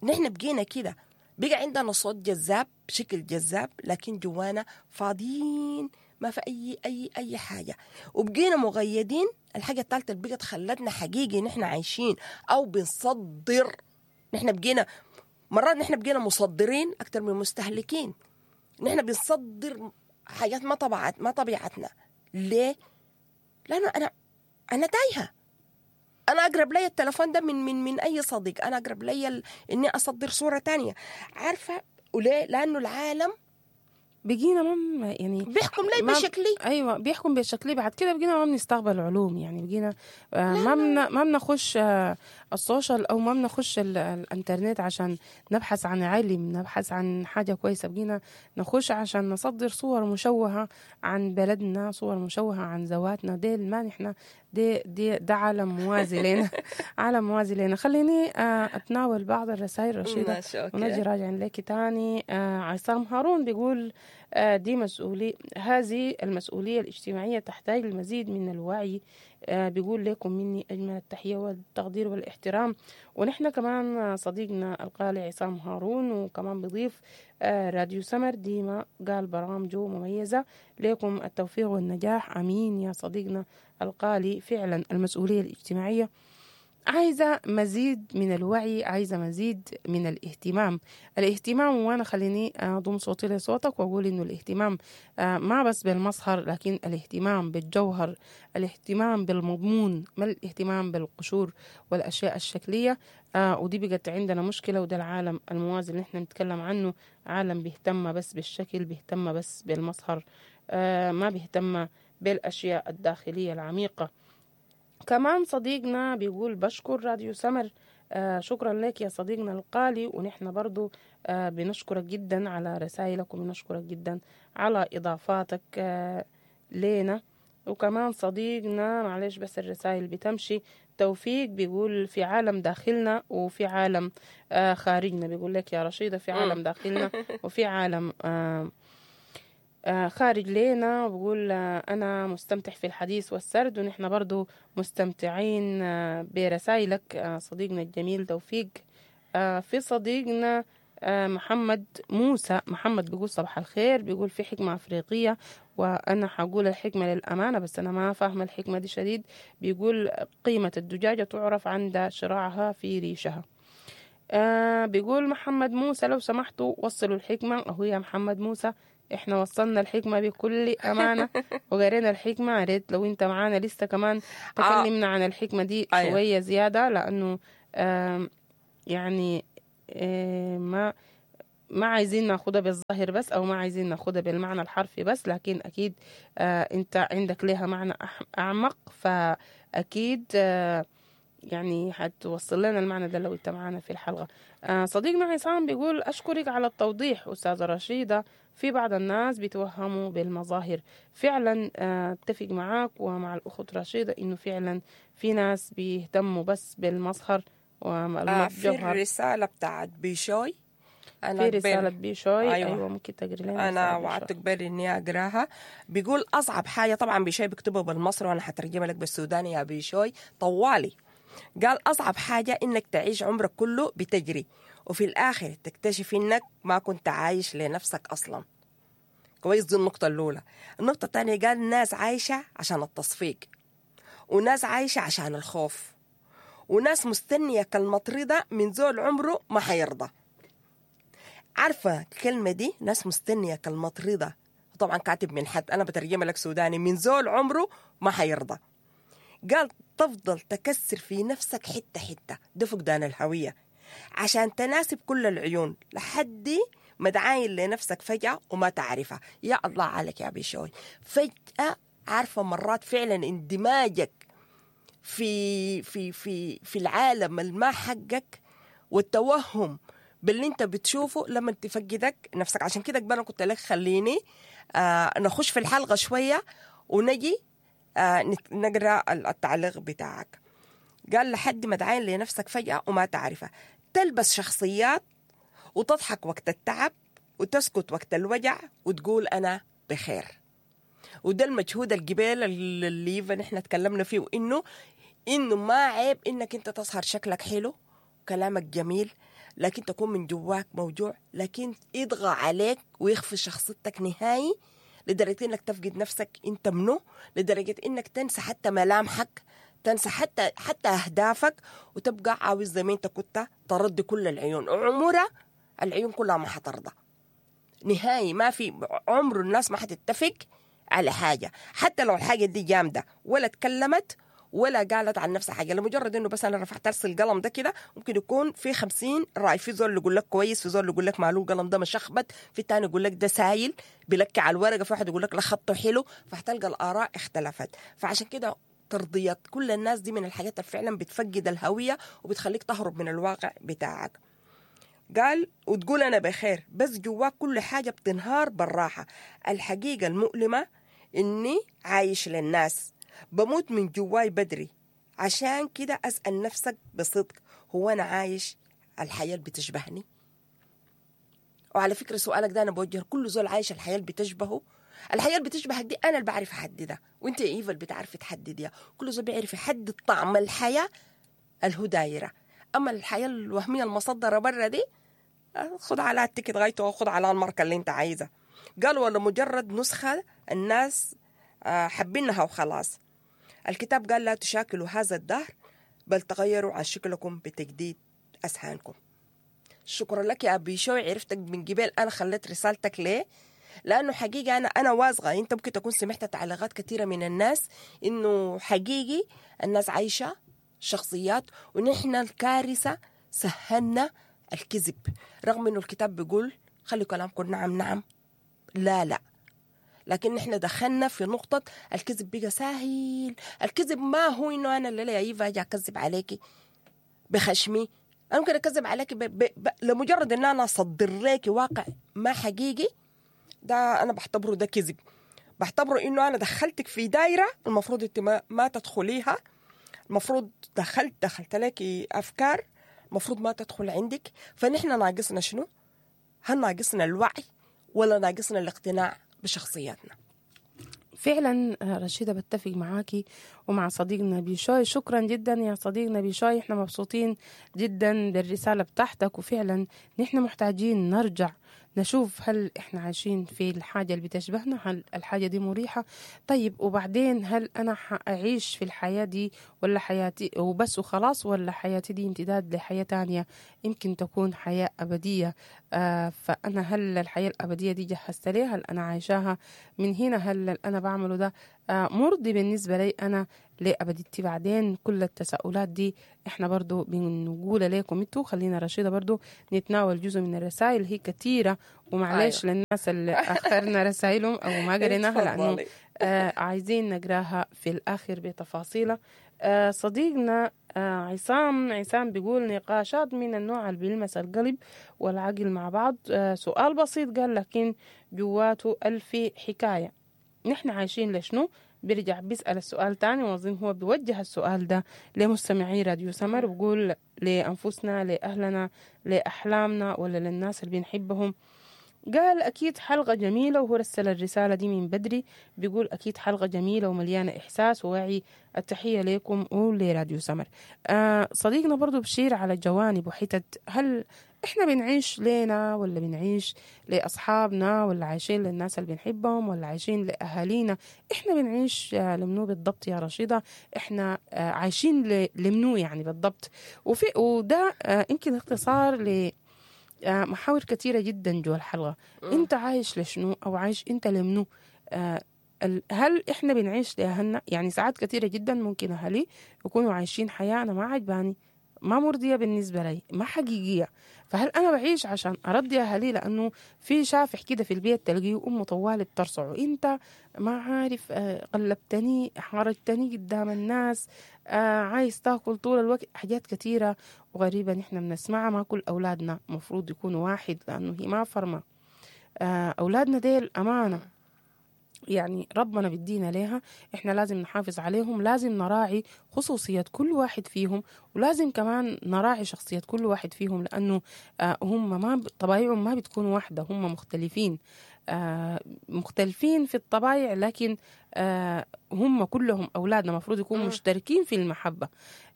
نحن بقينا كده، بقى عندنا صوت جذاب، شكل جذاب، لكن جوانا فاضيين، ما في أي أي أي حاجة، وبقينا مغيدين. الحاجة الثالثة اللي بقت خلتنا حقيقي نحن عايشين أو بنصدر، نحن بقينا مرات نحن بقينا مصدرين أكثر من مستهلكين، نحن بنصدر حاجات ما طبيعتنا. ليه؟ لأنه أنا تايهة، أنا أقرب لي التلفون ده من من من أي صديق، أنا أقرب لي إني أصدر صورة تانية، عارفة؟ وليه؟ لأنه العالم بقينا ما يعني بيحكم لي بشكلي. ايوه بيحكم بشكلي. بعد كده بقينا ما بنستقبل علوم، يعني بقينا ما بنخش ال social او ما بنخش الانترنت عشان نبحث عن علم، نبحث عن حاجة كويسة. بقينا نخش عشان نصدر صور مشوهة عن بلدنا، صور مشوهة عن ذواتنا. ديل ما نحن دي ده عالم موازي لنا. عالم موازي لنا. خليني اتناول بعض الرسائل رشيده ونجي راجعين لك تاني. عصام هارون بيقول دي مسؤولية، هذه المسؤولية الاجتماعية تحتاج المزيد من الوعي. بيقول لكم مني أجمل التحية والتقدير والاحترام. ونحن كمان صديقنا القالي عصام هارون، وكمان بيضيف راديو سمر ديما قال برامجه مميزة، لكم التوفيق والنجاح. أمين يا صديقنا القالي. فعلا المسؤولية الاجتماعية عايزة مزيد من الوعي، عايزة مزيد من الاهتمام. الاهتمام، وأنا خليني أضم صوتي لصوتك وأقول إنه الاهتمام ما بس بالمظهر، لكن الاهتمام بالجوهر، الاهتمام بالمضمون، ما الاهتمام بالقشور والأشياء الشكلية. ودي بقت عندنا مشكلة، وده العالم الموازي اللي احنا نتكلم عنه، عالم بيهتم بس بالشكل، بيهتم بس بالمظهر، ما بيهتم بالأشياء الداخلية العميقة. كمان صديقنا بيقول بشكر راديو سمر. شكرا لك يا صديقنا القالي، ونحن برضو بنشكرك جدا على رسائلك، وبنشكرك جدا على إضافاتك لنا. وكمان صديقنا، معلش بس الرسائل بتمشي، توفيق بيقول في عالم داخلنا وفي عالم خارجنا. بيقول لك يا رشيدة في عالم داخلنا وفي عالم خارج لينا وبقول أنا مستمتع في الحديث والسرد، ونحن برضو مستمتعين برسائلك صديقنا الجميل توفيق. في صديقنا محمد موسى، محمد بيقول صباح الخير، بيقول في حكمة أفريقية، وأنا حقول الحكمة للأمانة بس أنا ما فاهمة الحكمة دي شديد. بيقول قيمة الدجاجة تعرف عند شراعها في ريشها. بيقول محمد موسى لو سمحتوا وصلوا الحكمة. أهو يا محمد موسى احنا وصلنا الحكمة بكل أمانة وقرينا الحكمة. ريت لو انت معانا لسه كمان تكلمنا عن الحكمة دي شوية زيادة، لأنه يعني ما عايزين ناخدها بالظاهر بس، أو ما عايزين ناخدها بالمعنى الحرفي بس، لكن أكيد أنت عندك لها معنى أعمق، فأكيد يعني هتوصل لنا المعنى ده لو انت معانا في الحلقة. صديقنا عصام بيقول أشكرك على التوضيح أستاذة رشيدة، في بعض الناس بيتوهموا بالمظاهر. فعلا اتفق معاك ومع الأخت رشيدة إنه فعلا في ناس بيهتموا بس بالمظهر والجوهر. في الرسالة بتاعت بيشوي، أنا في رسالة بيشوي. أيوة ممكن تقري لنا. أنا وعدت قبل إني أقراها. بيقول أصعب حاجة، طبعا بيشوي بيكتبه بالمصري وأنا حترجمها لك بالسوداني يا بيشوي طوالي. قال أصعب حاجة إنك تعيش عمرك كله بتجري، وفي الآخر تكتشف إنك ما كنت عايش لنفسك أصلا. كويس، دي النقطة الأولى. النقطة الثانية قال ناس عايشة عشان التصفيق، وناس عايشة عشان الخوف، وناس مستنية كلمة رضا من زول عمره ما حيرضى. عارفة الكلمة دي، ناس مستنية كلمة رضا، طبعا كاتب من حد، أنا بترجمها لك سوداني، من زول عمره ما حيرضى. قال تفضل تكسر في نفسك حتة حتة، ده فقدان الهوية، عشان تناسب كل العيون لحد ما تعاين لنفسك فجأة وما تعرفها. يا الله عليك يا بيشوي، فجأة عارفة مرات فعلا اندماجك في في في في العالم الما حقك والتوهم باللي انت بتشوفه لما تفقدك نفسك. عشان كده قبل كنت لك خليني نخش في الحلقة شوية ونجي نقرأ التعليق بتاعك. قال لحد ما تعاين لنفسك فجأة وما تعرفها، تلبس شخصيات وتضحك وقت التعب وتسكت وقت الوجع وتقول أنا بخير. وده المجهود الجبال اللي نحن تكلمنا فيه، وإنه ما عيب إنك أنت تظهر شكلك حلو وكلامك جميل، لكن تكون من جواك موجوع، لكن يطغى عليك ويخفي شخصيتك نهائي لدرجة إنك تفقد نفسك أنت منه، لدرجة إنك تنسى حتى ملامحك، تنسى حتى أهدافك، وتبقى عاوز زي ما أنت كنت ترد كل العيون. عمرها العيون كلها ما حترضى نهائي، ما في عمر الناس ما حتتفق على حاجة، حتى لو الحاجة دي جامدة ولا تكلمت ولا قالت عن نفسها حاجة، لمجرد إنه بس أنا رفعت أرسل القلم ده كده ممكن يكون في 50 رأي، في زول يقول لك كويس، في زول يقول لك ماله القلم ده مشخبط، في تاني يقول لك ده سايل بلكي على الورقة، في واحد يقول لك لا خطه حلو، فهتلقى الآراء اختلفت. فعشان كده ترضية كل الناس دي من الحاجات اللي فعلا بتفقد الهوية وبتخليك تهرب من الواقع بتاعك. قال وتقول أنا بخير بس جواك كل حاجة بتنهار بالراحة. الحقيقة المؤلمة إني عايش للناس، بموت من جواي بدري. عشان كده أسأل نفسك بصدق، هو أنا عايش الحياة اللي بتشبهني؟ وعلى فكرة سؤالك ده أنا بوجه كل زول عايش الحياة اللي بتشبهه. الحياة اللي بتشبهك دي أنا اللي بعرف أحددها، وأنت يا إيفا اللي بتعرفي تحدديها. كل زول بيعرف يحدد طعم الحياة اللي هو دايرة. أما الحياة الوهمية المصدرة برا دي خد على ال ticket غايته وخد على الماركة اللي أنت عايزها. قالوا ولا مجرد نسخة الناس حبينها وخلاص. الكتاب قال لا تشاكلوا هذا الدهر بل تغيروا عن شكلكم بتجديد أذهانكم. شكرا لك يا أبي شوي، عرفتك من قبل أنا خليت رسالتك ليه؟ لأنه حقيقة أنا واثقة أنت ممكن تكون سمعت تعليقات كثيرة من الناس إنه حقيقي الناس عايشة شخصيات، ونحن الكارثة سهلنا الكذب، رغم إنه الكتاب بيقول خلي كلامكم نعم نعم لا لا، لكن نحن دخلنا في نقطة الكذب بقى سهل. الكذب ما هو إنه أنا اللي يا إيفا أجي أكذب عليكي بخشمي، أنا ممكن أكذب عليكي لمجرد إن أنا أصدر لك واقع ما حقيقي، ده أنا بعتبره ده كذب. بعتبره إنه أنا دخلتك في دايرة المفروض أنت ما تدخليها، المفروض دخلت لك أفكار المفروض ما تدخل عندك. فنحن ناقصنا شنو؟ هل ناقصنا الوعي ولا ناقصنا الاقتناع بشخصياتنا. فعلا رشيدة بتفق معاكي ومع صديقنا بيشوي. شكرا جدا يا صديقنا بيشوي، احنا مبسوطين جدا بالرسالة بتاعتك، وفعلا نحن محتاجين نرجع نشوف هل احنا عايشين في الحاجة اللي بتشبهنا، هل الحاجة دي مريحة؟ طيب وبعدين هل انا حأعيش في الحياة دي ولا حياتي وبس وخلاص، ولا حياتي دي امتداد لحياة تانية يمكن تكون حياة أبدية؟ فأنا هل الحياة الأبدية دي جهزت ليها؟ هل أنا عايشاها من هنا؟ هل اللي أنا بعمله ده مرضي بالنسبة لي أنا لأبديتي بعدين؟ كل التساؤلات دي احنا برضو بنقول لكم انتوا. خلينا رشيدة برضو نتناول جزء من الرسائل، هي كثيرة ومعلش. أيوة. للناس اللي أخرنا رسائلهم أو ما قريناها لأنه عايزين نقراها في الآخر بتفاصيلها. صديقنا عصام بيقول نقاشات من النوع اللي بيلمس القلب والعقل مع بعض. سؤال بسيط قال لكن جواته ألف حكاية. نحن عايشين لشنو؟ بيرجع بيسأل السؤال تاني، وأظن هو بيوجه السؤال ده لمستمعي راديو سمر، بيقول لأنفسنا، لأهلنا، لأحلامنا، ولا للناس اللي بنحبهم. قال أكيد حلقة جميلة، وهو رسل الرسالة دي من بدري، بيقول أكيد حلقة جميلة ومليانة إحساس ووعي، التحية لكم ولراديو سمر. صديقنا برضو بشير على جوانب وحتت، هل إحنا بنعيش لينا ولا بنعيش لأصحابنا، ولا عايشين للناس اللي بنحبهم، ولا عايشين لأهالينا؟ إحنا بنعيش لمنو بالضبط يا رشيدة؟ إحنا عايشين لمنو يعني بالضبط؟ وده يمكن اختصار ل محاور كثيرة جدا جوا الحلقة. انت عايش لشنو او عايش انت لمنو؟ هل احنا بنعيش لأهلنا؟ يعني ساعات كثيرة جدا ممكن اهلي يكونوا عايشين حياة انا ما عجباني، ما مرضية بالنسبة لي، ما حقيقية. فهل انا بعيش عشان ارضي اهلي؟ لانه في شافح كده في البيت تلقيه امه طوال بترصعه، انت ما عارف قلبتني، حرجتني قدام الناس، عايز تاكل طول الوقت. حاجات كثيرة وغريبة نحن بنسمعها. ما كل أولادنا مفروض يكونوا واحد، لأنه هي ما فرمة. أولادنا ديل أمانة، يعني ربنا بدينا ليها، إحنا لازم نحافظ عليهم، لازم نراعي خصوصية كل واحد فيهم، ولازم كمان نراعي شخصية كل واحد فيهم، لأنه هم ما طبايعهم ما بتكون واحدة، هم مختلفين، مختلفين في الطبايع، لكن هم كلهم أولادنا مفروض يكونوا مشتركين في المحبة.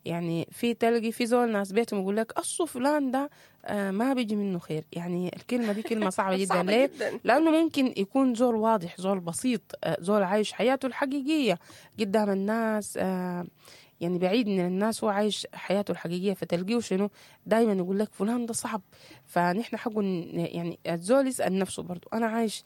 يعني في تلقي في زول ناس بيتهم يقول لك أصل فلان ده ما بيجي منه خير. يعني الكلمة دي كلمة صعبة جدا. ليه؟ لأنه ممكن يكون زول واضح، زول بسيط، زول عايش حياته الحقيقية قدام الناس، يعني بعيد من الناس، هو عايش حياته الحقيقية، فتلقيه شنو دايما يقول لك فلان ده صعب. فنحن حقه يعني الزول يسأل نفسه برضو، أنا عايش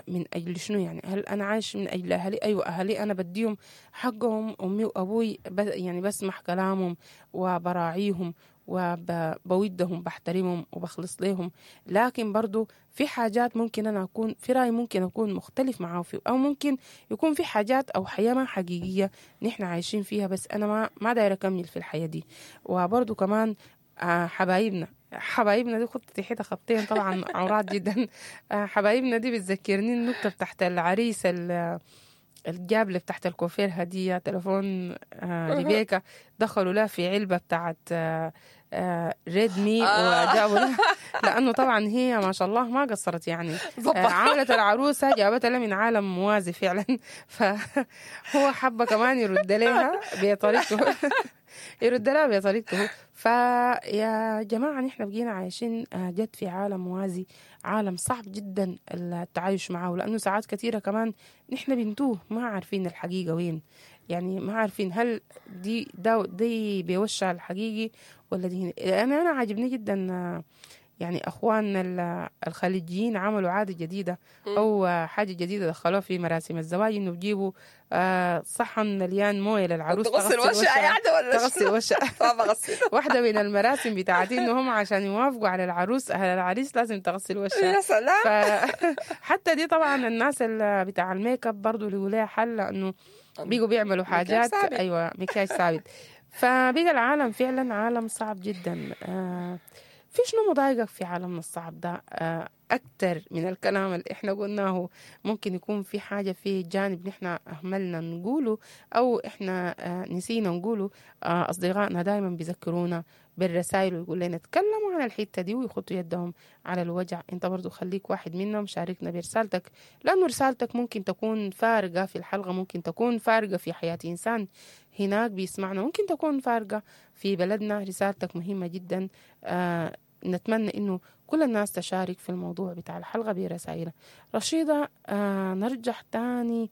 من أجل شنو؟ يعني هل أنا عايش من أجل أهلي؟ أيوة أهلي أنا بديهم حقهم، أمي وأبوي يعني بسمح كلامهم وبراعيهم وبودهم، بحترمهم وبخلص لهم. لكن برضو في حاجات ممكن أنا أكون في رأي ممكن أكون مختلف معه فيه، أو ممكن يكون في حاجات أو حياة ما حقيقية نحن عايشين فيها، بس أنا ما داير أكمل في الحياة دي. وبرضو كمان حبايبنا دي خطتي حتى خطين طبعا عورات جدا. حبايبنا دي بتذكرني النكتة بتاعت العريس الجابلة بتاعت الكوفير هدية تلفون ريبيكا، دخلوا لها في علبة بتاعت ريدمي وجابوا لها، لأنه طبعا هي ما شاء الله ما قصرت، يعني عملت العروسة جابتها لها من عالم موازي فعلا. فهو حب كمان يرد لها بطريقته يرد لها بطريقته. فيا جماعة نحن بقينا عايشين جد في عالم موازي، عالم صعب جدا التعايش معه، لأنه ساعات كثيرة كمان نحن بنتوه، ما عارفين الحقيقة وين، يعني ما عارفين هل دي دي بوشها الحقيقي ولا دي هنا. أنا عاجبني جدا يعني أخواننا الخليجيين عملوا عادة جديدة أو حاجة جديدة دخلوها في مراسم الزواج، إنه بيجيبوا صحن مليان موية للعروس تغسل وشها، يعني ولا تغسل وشها. واحدة من المراسم بتاعتي إنه هم عشان يوافقوا على العروس أهل العريس لازم تغسل وشها. يا سلام. حتى دي طبعا الناس اللي بتاع الميك اب برضو اللي لها حل، لأنه بيجوا بيعملوا حاجات، أيوة مكياج ثابت. فبقى العالم فعلا عالم صعب جدا. في شنو مضايقك في عالمنا الصعب ده؟ أكتر من الكلام اللي إحنا قلناه، ممكن يكون في حاجة في جانب نحن أهملنا نقوله أو إحنا نسينا نقوله. أصدقائنا دائما بيذكرونا بالرسائل ويقول لنا تكلموا عن الحتة دي ويخطوا يدهم على الوجع. انت برضو خليك واحد منهم، شاركنا برسالتك، لأنه رسالتك ممكن تكون فارقة في الحلقة، ممكن تكون فارقة في حياة إنسان هناك بيسمعنا، ممكن تكون فارقة في بلدنا. رسالتك مهمة جدا. نتمنى إنه كل الناس تشارك في الموضوع بتاع الحلقة برسائلها. رشيدة، نرجع تاني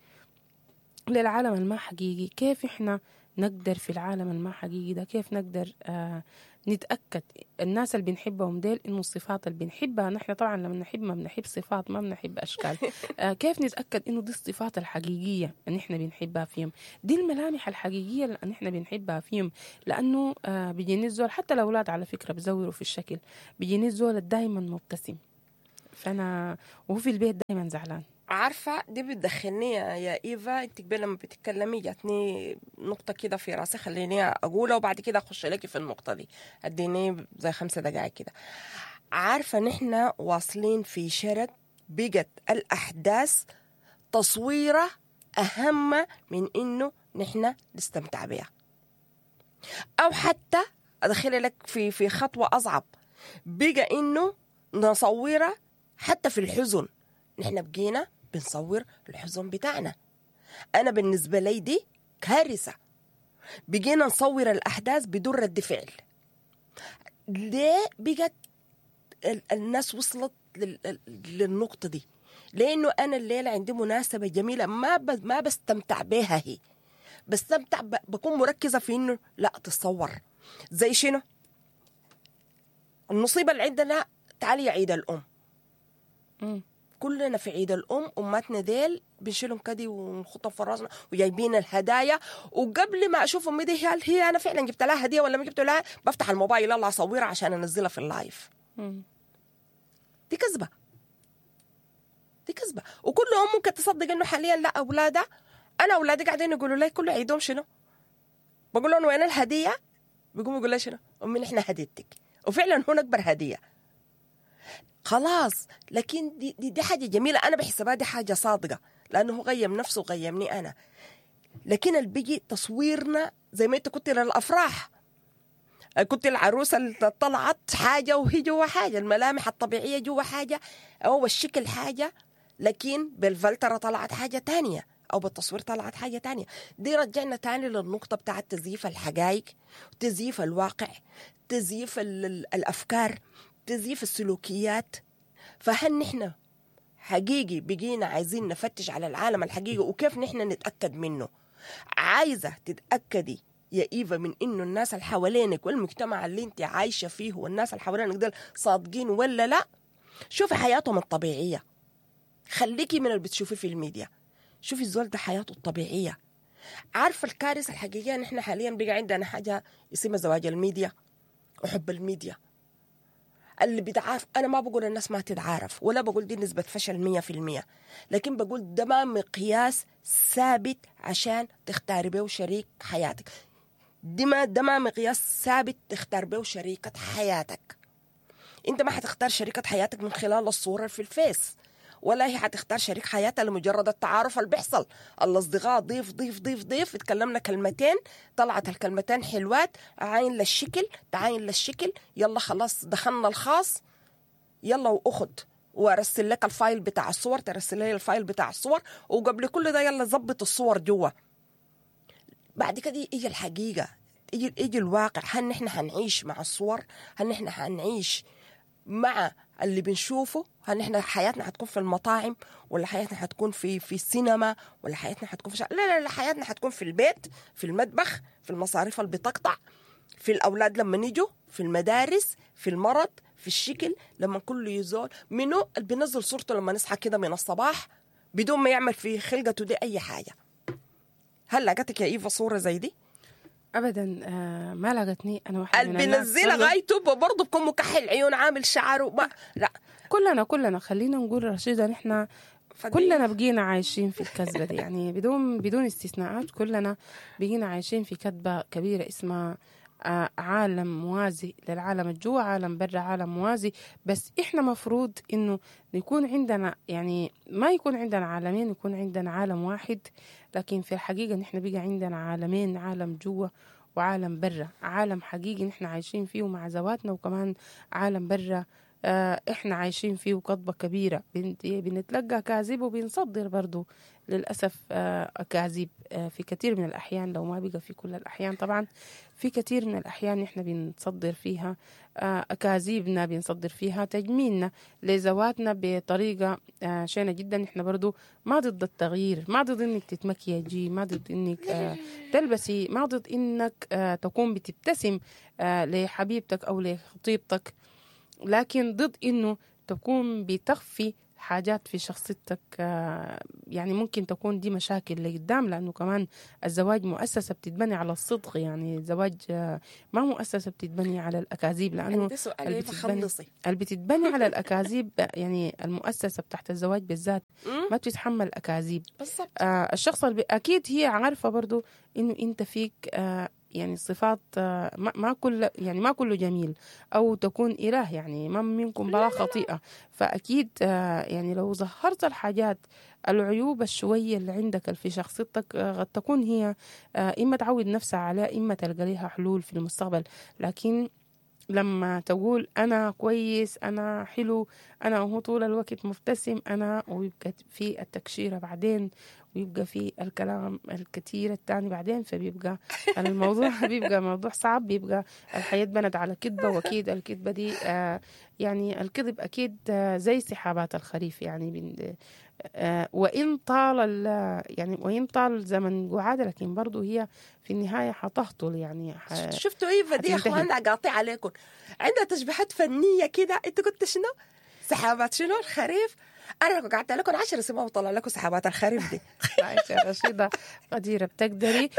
للعالم الما حقيقي. كيف إحنا نقدر في العالم الما حقيقي ده، كيف نقدر نتأكد الناس اللي بنحبهم ديل إنه الصفات اللي بنحبها نحن، طبعا لما نحب ما بنحب صفات، ما بنحب أشكال، كيف نتأكد إنه دي الصفات الحقيقية اللي نحن بنحبها فيهم، دي الملامح الحقيقية اللي نحن بنحبها فيهم؟ لأنه بيجيني الزول، حتى الأولاد على فكرة بزوروا في الشكل، بيجيني الزول دايما مبتسم، فأنا وهو في البيت دايما زعلان. عارفة دي بتدخلني يا إيفا، انت قبل لما بتتكلمي جاتني نقطة كده في راسي، خليني أقولها وبعد كده أخش لك في النقطة دي، اديني زي 5 دقائق كده. عارفة نحن واصلين في شرك بقت الأحداث تصويرة أهم من إنه نحن نستمتع بها، أو حتى أدخل لك في خطوة أصعب، بقى إنه نصورها حتى في الحزن. نحن بقينا بنصور الحزن بتاعنا. أنا بالنسبة لي دي كارثة. بقينا نصور الأحداث بدون رد فعل. ليه بقت الناس وصلت للنقطة دي؟ لأنه أنا الليلة عندي مناسبة جميلة ما بستمتع بها، هي بستمتع بكون مركزة في إنه لا تصور. زي شنو؟ المصيبة اللي عندنا، تعالي عيد الأم. كلنا في عيد الأم أماتنا ديل بنشيلهم كدي ونخطهم في راسنا وجايبين الهدايا، وقبل ما أشوف أمي دي هل هي أنا فعلا جبت لها هدية ولا ما جبت لها، بفتح الموبايل يلا أصورها عشان أنزلها في ال live. دي كذبة، دي كذبة. وكل أم ممكن تصدق إنه حاليا لا أولادها، أنا أولادي قاعدين يقولوا لي كل عيدهم شنو؟ بقول لهم وين الهدية؟ بيقوموا يقولوا لي شنو؟ أمي نحن هديتك، وفعلا هون أكبر هدية. خلاص. لكن دي, دي, دي حاجة جميلة، أنا بحسبها دي حاجة صادقة، لأنه هو غيم نفسه وغيمني أنا. لكن اللي بيجي تصويرنا زي ما أنت كنت للأفراح، كنت العروسة اللي طلعت حاجة وهي جوا حاجة، الملامح الطبيعية جوا حاجة أو الشكل حاجة، لكن بالفلترة طلعت حاجة تانية أو بالتصوير طلعت حاجة تانية. دي رجعنا تاني للنقطة بتاعة تزييف الحقائق، تزييف الواقع، تزييف الأفكار، تزييف السلوكيات. فهل نحن حقيقي بقينا عايزين نفتش على العالم الحقيقي وكيف نحن نتأكد منه؟ عايزة تتأكدي يا إيفا من إنه الناس اللي حوالينك والمجتمع اللي انت عايشة فيه والناس اللي حوالينك دول صادقين ولا لا؟ شوفي حياتهم الطبيعية، خليكي من اللي بتشوفيه في الميديا، شوفي الزول ده حياته الطبيعية. عارفة الكارثة الحقيقية نحن حاليا بقى عندنا حاجة اسمها زواج الميديا وحب الميديا اللي بيتعارف. أنا ما بقول الناس ما تتعارف ولا بقول دي نسبة فشل 100%، لكن بقول ده ما مقياس ثابت عشان تختاري بيه شريك حياتك. دي ما ده ما مقياس ثابت تختار بيه شريكة حياتك. انت ما حتختار شريكة حياتك من خلال الصورة في الفيس، ولا هي حتختار شريك حياتها لمجرد التعارف اللي بيحصل. الاصدقاء ضيف ضيف ضيف ضيف، اتكلمنا كلمتين، طلعت الكلمتين حلوات، عاين للشكل، تعاين للشكل، يلا خلاص دخلنا الخاص، يلا واخد وارسل لك ال file بتاع الصور، ترسل لي ال file بتاع الصور، وقبل كل ده يلا ظبط الصور جوا. بعد كده يجي الحقيقة، يجي الواقع. هل نحن حنعيش مع الصور؟ هل نحن حنعيش مع اللي بنشوفه؟ هل نحن حياتنا حتكون في المطاعم، ولا حياتنا حتكون في السينما، ولا حياتنا حتكون في لا لا لا، حياتنا حتكون في البيت، في المطبخ، في المصاريف اللي بتقطع، في الأولاد لما نيجوا، في المدارس، في المرض، في الشكل، لما كله يزول منه اللي بينزل صورته لما نصحى كده من الصباح بدون ما يعمل في خلقته دي أي حاجة. هل لقتك يا إيفا صورة زي دي؟ ابدا ما لقتني. انا واحدة من اللي الناس بينزلها غايته برضه بكون مكحل عيون، عامل شعره ما لا. كلنا خلينا نقول رشيدة، نحن كلنا بقينا عايشين في الكذبة دي، يعني بدون استثناءات، كلنا بقينا عايشين في كذبة كبيرة اسمها عالم موازي للعالم الجوا، عالم برا، عالم موازي. بس إحنا مفروض إنه يكون عندنا، يعني ما يكون عندنا عالمين، يكون عندنا عالم واحد. لكن في الحقيقة نحن بقى عندنا عالمين، عالم جوا وعالم برا، عالم حقيقي نحن عايشين فيه مع ذواتنا، وكمان عالم برا احنا عايشين فيه كذبة كبيرة، بنتلقى كاذب وبنصدر برضو للأسف أكاذيب في كثير من الأحيان، لو ما بقى في كل الأحيان طبعا، في كثير من الأحيان نحن بنصدر فيها أكاذيبنا، بنصدر فيها تجميلنا لذواتنا بطريقة شينة جدا. نحن برضو ما ضد التغيير، ما ضد إنك تتمكيجي، ما ضد إنك تلبسي، ما ضد إنك تكون بتبتسم لحبيبتك أو لخطيبتك، لكن ضد إنه تكون بتخفي حاجات في شخصيتك. يعني ممكن تكون دي مشاكل لقدام، لأنه كمان الزواج مؤسسة بتتبني على الصدق، يعني الزواج ما مؤسسة بتتبني على الأكاذيب، لأنه اللي بتتبني على الأكاذيب يعني المؤسسة بتاعت الزواج بالذات ما بتتحمل أكاذيب. الشخص أكيد هي عارفة برضو إنه أنت فيك يعني صفات ما كل، يعني ما كله جميل أو تكون إله، يعني ما منكم بلا خطيئة. فأكيد يعني لو ظهرت الحاجات العيوب الشوية اللي عندك في شخصيتك قد تكون هي إما تعود نفسها عليها، إما تلقى لها حلول في المستقبل. لكن لما تقول أنا كويس، أنا حلو، أنا هو طول الوقت مبتسم، أنا، ويبقى في التكشيرة بعدين، ويبقى في الكلام الكثير الثاني بعدين، فبيبقى الموضوع بيبقى موضوع صعب، بيبقى الحياة بنت على كذبة. وأكيد الكذبة دي يعني الكذب أكيد زي سحابات الخريف، يعني وإن طال يعني وإن طال زمن قعادة، لكن برضو هي في النهاية حتهطل. يعني شفتوا إيفا دي يا إخوان، قاطع عليكم، عندها تشبيهات فنية كده. أنت كنت شنو؟ سحابات شنو الخريف؟ أنا قعدت لكم 10 سنين وطلع لكم سحابات الخريف دي. يا رشيدة قديرة بتقدري.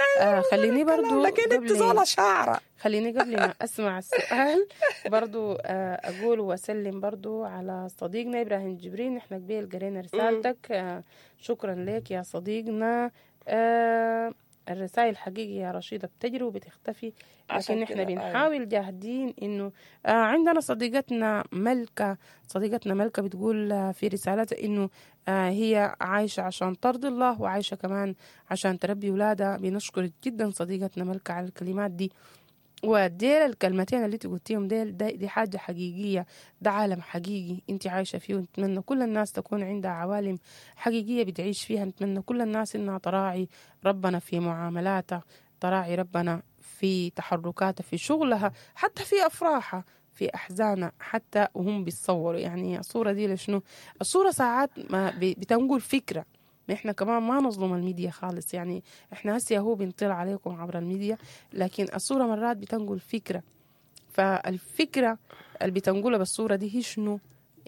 خليني برضو لكن انت شعرة. خليني قبل ما أسمع السؤال برضو أقول وأسلم برضو على صديقنا إبراهيم جبرين. نحن قبيل قرينا رسالتك، شكرا لك يا صديقنا. الرسائل حقيقي يا رشيدة بتجري وبتختفي، لكن احنا بنحاول جاهدين انه عندنا صديقتنا ملكة، صديقتنا ملكة بتقول في رسالتها انه هي عايشة عشان ترضي الله، وعايشة كمان عشان تربي ولادها. بنشكر جدا صديقتنا ملكة على الكلمات دي، وديل الكلمتين اللي تقولتيهم ديل، دي حاجة حقيقية، ده عالم حقيقي انت عايشة فيه. ونتمنى كل الناس تكون عندها عوالم حقيقية بتعيش فيها. نتمنى كل الناس انها تراعي ربنا في معاملاتها، تراعي ربنا في تحركاتها، في شغلها، حتى في أفراحها، في أحزانها، حتى وهم بيتصوروا. يعني الصورة دي لشنو؟ الصورة ساعات ما بتنقل فكرة. احنا كمان ما نظلم الميديا خالص، يعني احنا هسه هو بنطلع عليكم عبر الميديا، لكن الصورة مرات بتنقل فكرة. فالفكرة اللي بتنقلها بالصورة دي هي شنو؟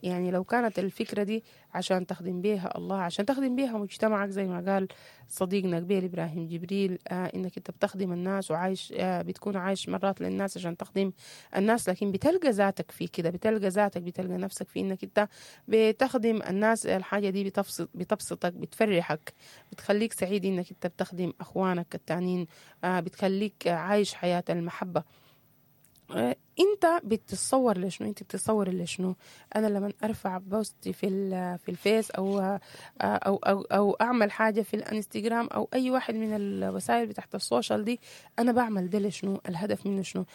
يعني لو كانت الفكرة دي عشان تخدم بيها الله، عشان تخدم بيها مجتمعك، زي ما قال صديقنا قبيل إبراهيم جبريل، إنك أنت بتخدم الناس وعايش، بتكون عايش مرات للناس عشان تخدم الناس، لكن بتلقى ذاتك في كده، بتلقى ذاتك، بتلقى نفسك في إنك أنت بتخدم الناس. الحاجة دي بتبسطك، بتفرحك، بتخليك سعيد إنك أنت بتخدم أخوانك التانيين، بتخليك عايش حياة المحبة. انت بتتصور لشنو؟ انت بتتصور لشنو؟ انا لما ارفع post في الفيس او او او او اعمل حاجة في الانستغرام او اي واحد من الوسائل بتاعت ال social دي، انا بعمل ده لشنو؟ الهدف منه شنو؟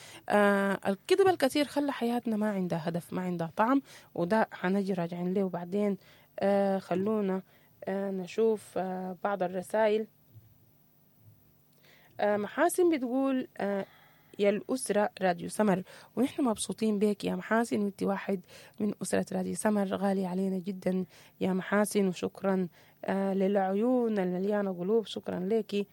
الكذب الكثير خلى حياتنا ما عندها هدف، ما عندها طعم، وده حنجي راجعين له. وبعدين خلونا نشوف بعض الرسائل. محاسن بتقول يا الأسرة راديو سمر، ونحن مبسوطين بك يا محاسن، وانت واحد من أسرة راديو سمر، غالي علينا جدا يا محاسن، وشكرا للعيون المليانة قلوب، شكرا لك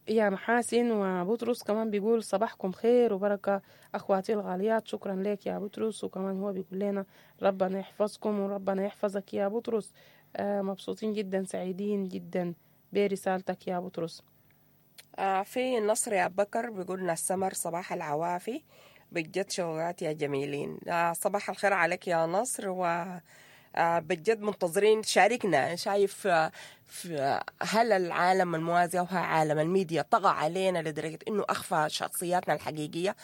يا محاسن. وبطرس كمان بيقول صباحكم خير وبركة أخواتي الغاليات، شكرا لك يا بطرس. وكمان هو بيقول لنا ربنا يحفظكم وربنا يحفظك يا بطرس. مبسوطين جدا، سعيدين جدا برسالتك يا بطرس. في النصر يا بكر بيقولنا السمر صباح العوافي، بجد شوقات يا جميلين. صباح الخير عليك يا نصر، بجد منتظرين شاركنا. شايف في هل العالم الموازي أو عالم الميديا طغى علينا لدرجة إنه أخفى شخصياتنا الحقيقية؟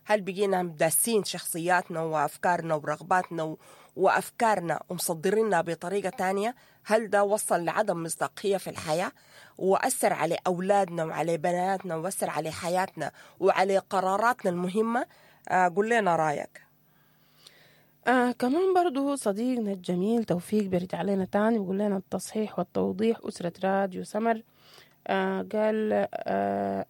هل بقينا داسين شخصياتنا وأفكارنا ورغباتنا وأفكارنا ومصدرينها بطريقة تانية؟ هل ده وصل لعدم مصداقية في الحياة وأثر على أولادنا وعلى بناتنا وأثر على حياتنا وعلى قراراتنا المهمة؟ قول لنا رأيك. كمان برضو صديقنا الجميل توفيق بيرجع لنا تاني بيقول لنا التصحيح والتوضيح أسرة راديو سمر. قال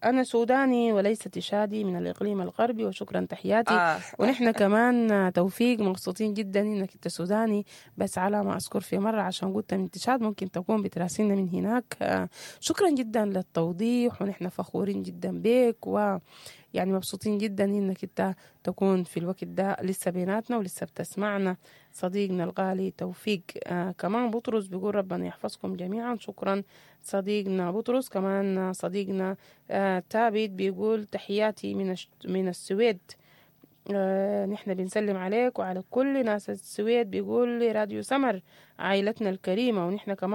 أنا سوداني وليس تشادي من الإقليم الغربي، وشكرا تحياتي. ونحن كمان توفيق مبسوطين جدا إنك أنت سوداني، بس على ما أذكر في مرة عشان قلت من تشاد ممكن تكون بتراسلنا من هناك. شكرا جدا للتوضيح، ونحن فخورين جدا بك، ويعني مبسوطين جدا إنك أنت تكون في الوقت ده لسه بيناتنا ولسه بتسمعنا صديقنا الغالي توفيق. كمان بطرس بيقول ربنا يحفظكم جميعا، شكرا صديقنا بطرس. كمان صديقنا تابت بيقول تحياتي من السويد. نحن بنسلم عليك وعلى كل ناس السويد. بيقول راديو سمر عائلتنا الكريمة، ونحن كمان